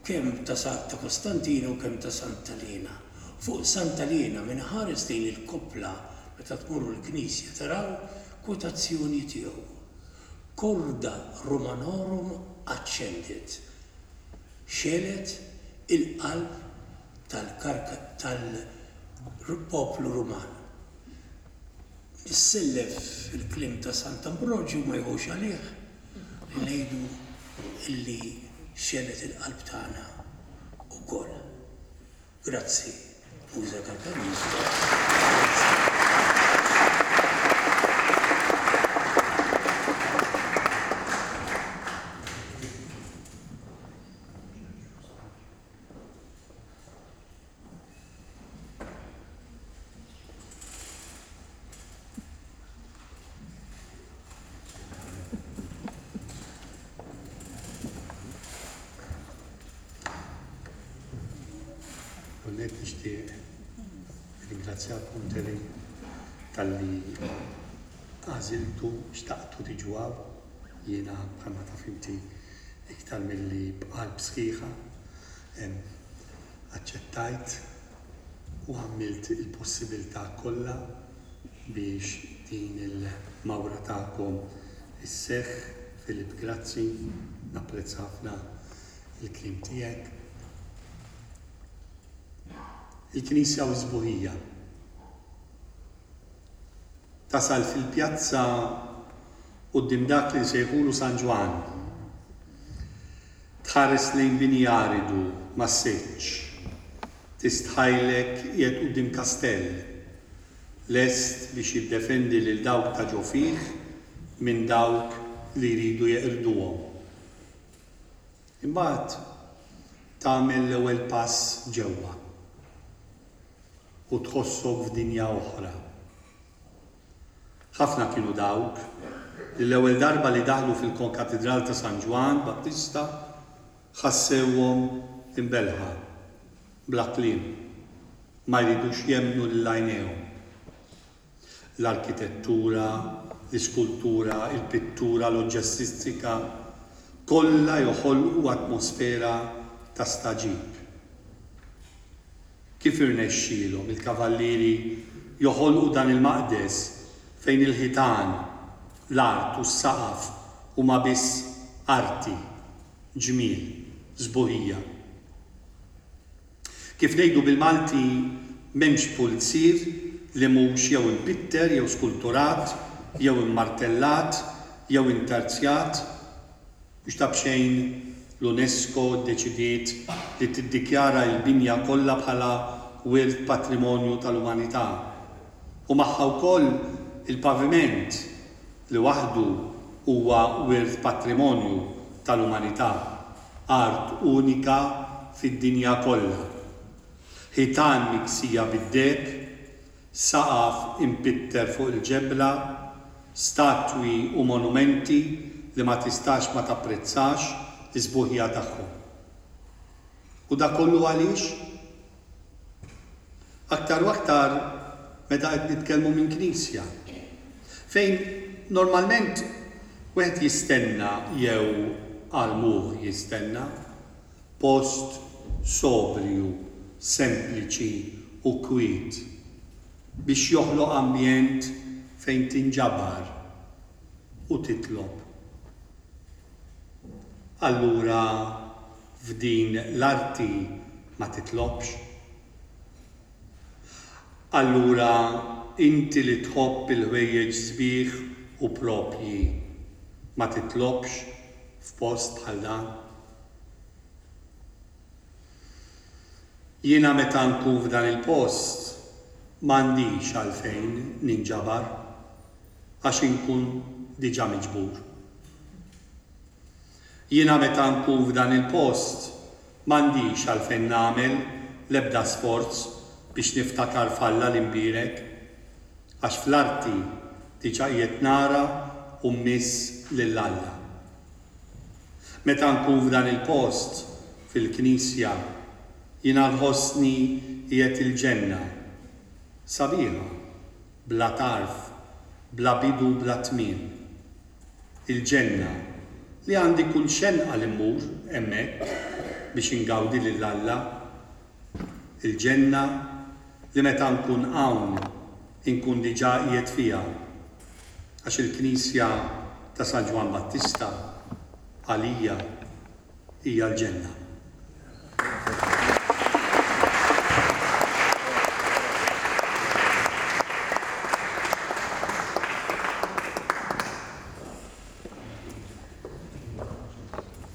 kemm ta' ta' Kostantinu u kemm ta' Santa Liena. Fuq Santa Liena min iħares lejn il-koppla meta tmorru l-knisja taraw kwotazzjoni tiegħu, Corda Romanorum accendit, xegħlet il-qalb tal-poplu Ruman. Nissellef il-kliem ta' Sant'Ambroġju ma jħux għalih li ngħidu li xegħlet il-qalb tagħna wkoll. Grazzi, Muża Karkariż. Grazzi.
L-ewwel nixtieq nirringrazzjakom Terry talli għażiltu xtaqtu tiġu hawn. Jiena bħalma taf inti iktar milli b'qalb sħiħa aċċettajt u għamilt il-possibilità kollha biex din il-mawra tagħkom isseħħ. Philip grazzi, napprezza ħafna il-kliem tiegħek. Il-Knisja u s-sbuħija. Tasal fil-pjazza quddiem dak li nsejħulu San Ġwann. Tħares lejn bini aridu, massiċċ. Tistħajlek qiegħed quddiem kastell, lest biex jiddefendi lil dawk ta' ġo fih minn dawk li jridu jeqirduhom. Imbagħad tagħmel l-ewwel pass ġewwa u tħossok f'dinja oħra. Ħafna kienu dawk li l-ewwel darba li daħlu fil-Konkatidral ta' San Ġwann Battista ħassewhom imbellħa, bla kliem, ma jridux jemmnu lil għajnejhom. L-arkitettura, l-iskultura, il-pittura, l-oġġestistika, kollha joħolqu atmosfera ta' stagħġib. Kif irnexxielhom il-kavallieri joħolqu dan il-maqdes fejn il-ħitan, l-art u s-saqaf huma biss arti, ġmiel, sbuħija? Kif ngħidu bil-Malti m'hemmx pulzier li mhux jew impitter jew skulturat jew immartellat jew intarzjat. Mhux ta' b'xejn l-UNESCO ddeċidiet li tiddikjara il-binja kollha bħala Wirt Patrimonju tal-Umanità. U magħha wkoll il-paviment li waħdu huwa wirt patrimonju tal-umanità, art unika fid-dinja kollha. Ħitan miksija bid-deheb, saqaf impitter fuq il-ġebla, statwi u monumenti li ma tistax ma tapprezzax is-sbuħija tagħhom. U dak kollu għaliex? Aktar u aktar meta qed nitkellmu minn knisja, fejn normalment wieħed jistenna jew għal moħħ jistenna post sobrju, sempliċi u kwiet biex joħloq ambjent fejn tinġabar u titlob. Allura f'din l-arti ma titlobx? Allura inti li tħobb il-ħwejjeġ sbieħ u proprji ma titlobx f'post bħal dan? Jiena meta nkun f'dan il-post m'għandix għalfejn ninġabar għax inkun diġà miġbur. Jiena meta nkun f'dan il-post m'għandix għalfejn nagħmel l-ebda sforz biex niftakar f'Alla l-Imbierek għax fl-arti diġà qiegħed nara u mmiss lil Alla. Meta nkun f'dan il-post, fil-knisja, jiena nħossni qiegħed il-ġenna. Sabiħa, bla tarf, bla bidu u bla tmiem. Il-ġenna, li għandi kull xenqa li mmur hemmhekk biex ingawdi lil Alla. Il-ġenna li meta nkun hawn inkun diġà qiegħed fiha. Għax il-knisja ta' San Ġwann Battista għalija hija l-ġenna.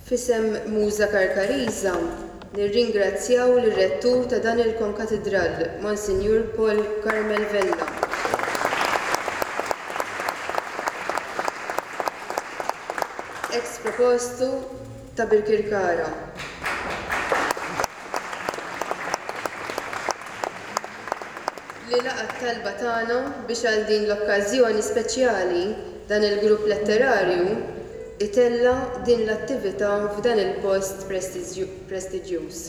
F'isem Muża Karkariża nirringrazzjaw lir-Rettur ta' dan il-Konkatidral, Monsinjur Paul Carmel Vella. Ex Propostu ta' Birkirkara. Li laqa' t-talba tagħna biex għal din l-okkażjoni speċjali dan il-grupp letterarju itella' din l-attività f'dan il-post prestiġjuż.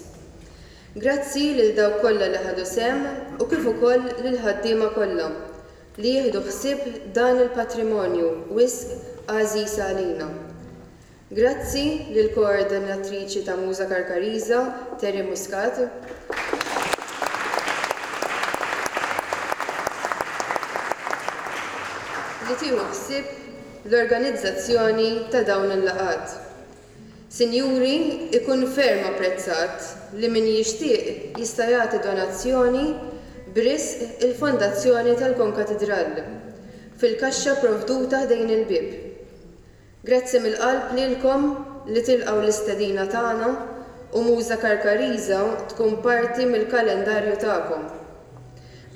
Grazzi lil dawk kollha li ħadu sehem u kif ukoll lill-ħaddiema kollha li jieħdu ħsieb dan il-patrimonju wisq għażiż għalina. Grazzi lill-koordinatriċi ta' Muża Karkariża, Terry Muscat, li tieħu ħsieb l-organizzazzjoni ta' dawn il-laqgħat. Sinjuri, ikun ferm apprezzat li min jixtieq jista' jagħti donazzjoni b'risq il-Fondazzjoni tal-Konkatidral, fil-kaxxa provduta ħdejn il-bieb. Grazzi mill-qalb lilkom li tilqgħu l-istedina tagħna u Muża Karkariża tkun parti mill-kalendarju tagħkom.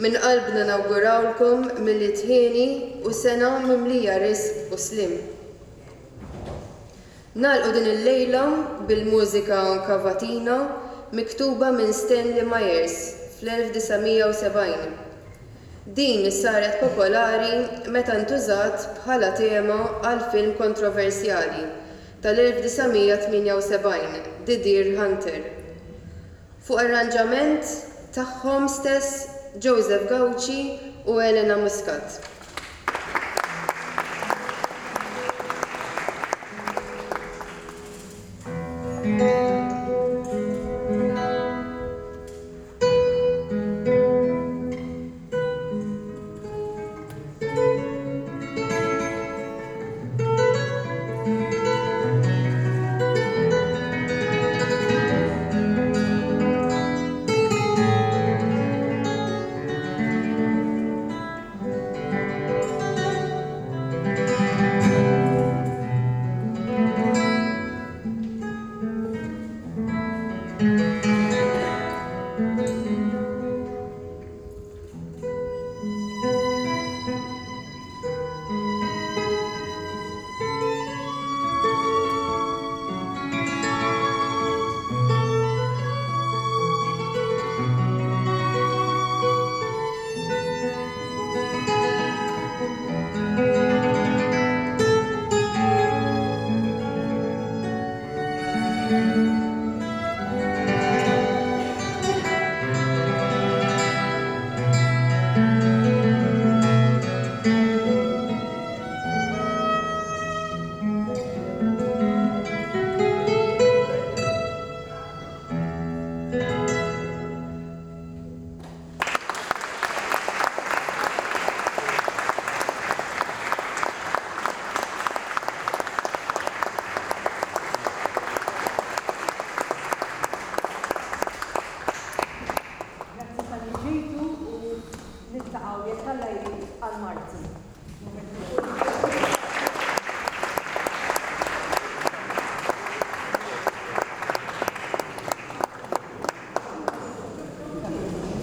Minn qalbna nawgurawlkom Milied hieni u sena mimlija risq u sliem. Nagħlqu din il-lejla bil-mużika Cavatina miktuba minn Stanley Myers fl-1970. Din saret popolari meta ntużat bħala tema għal film kontroversjali tal-1978, The Deer Hunter. Fuq arranġament tagħhom stess Joseph Gauci u Elena Muscat.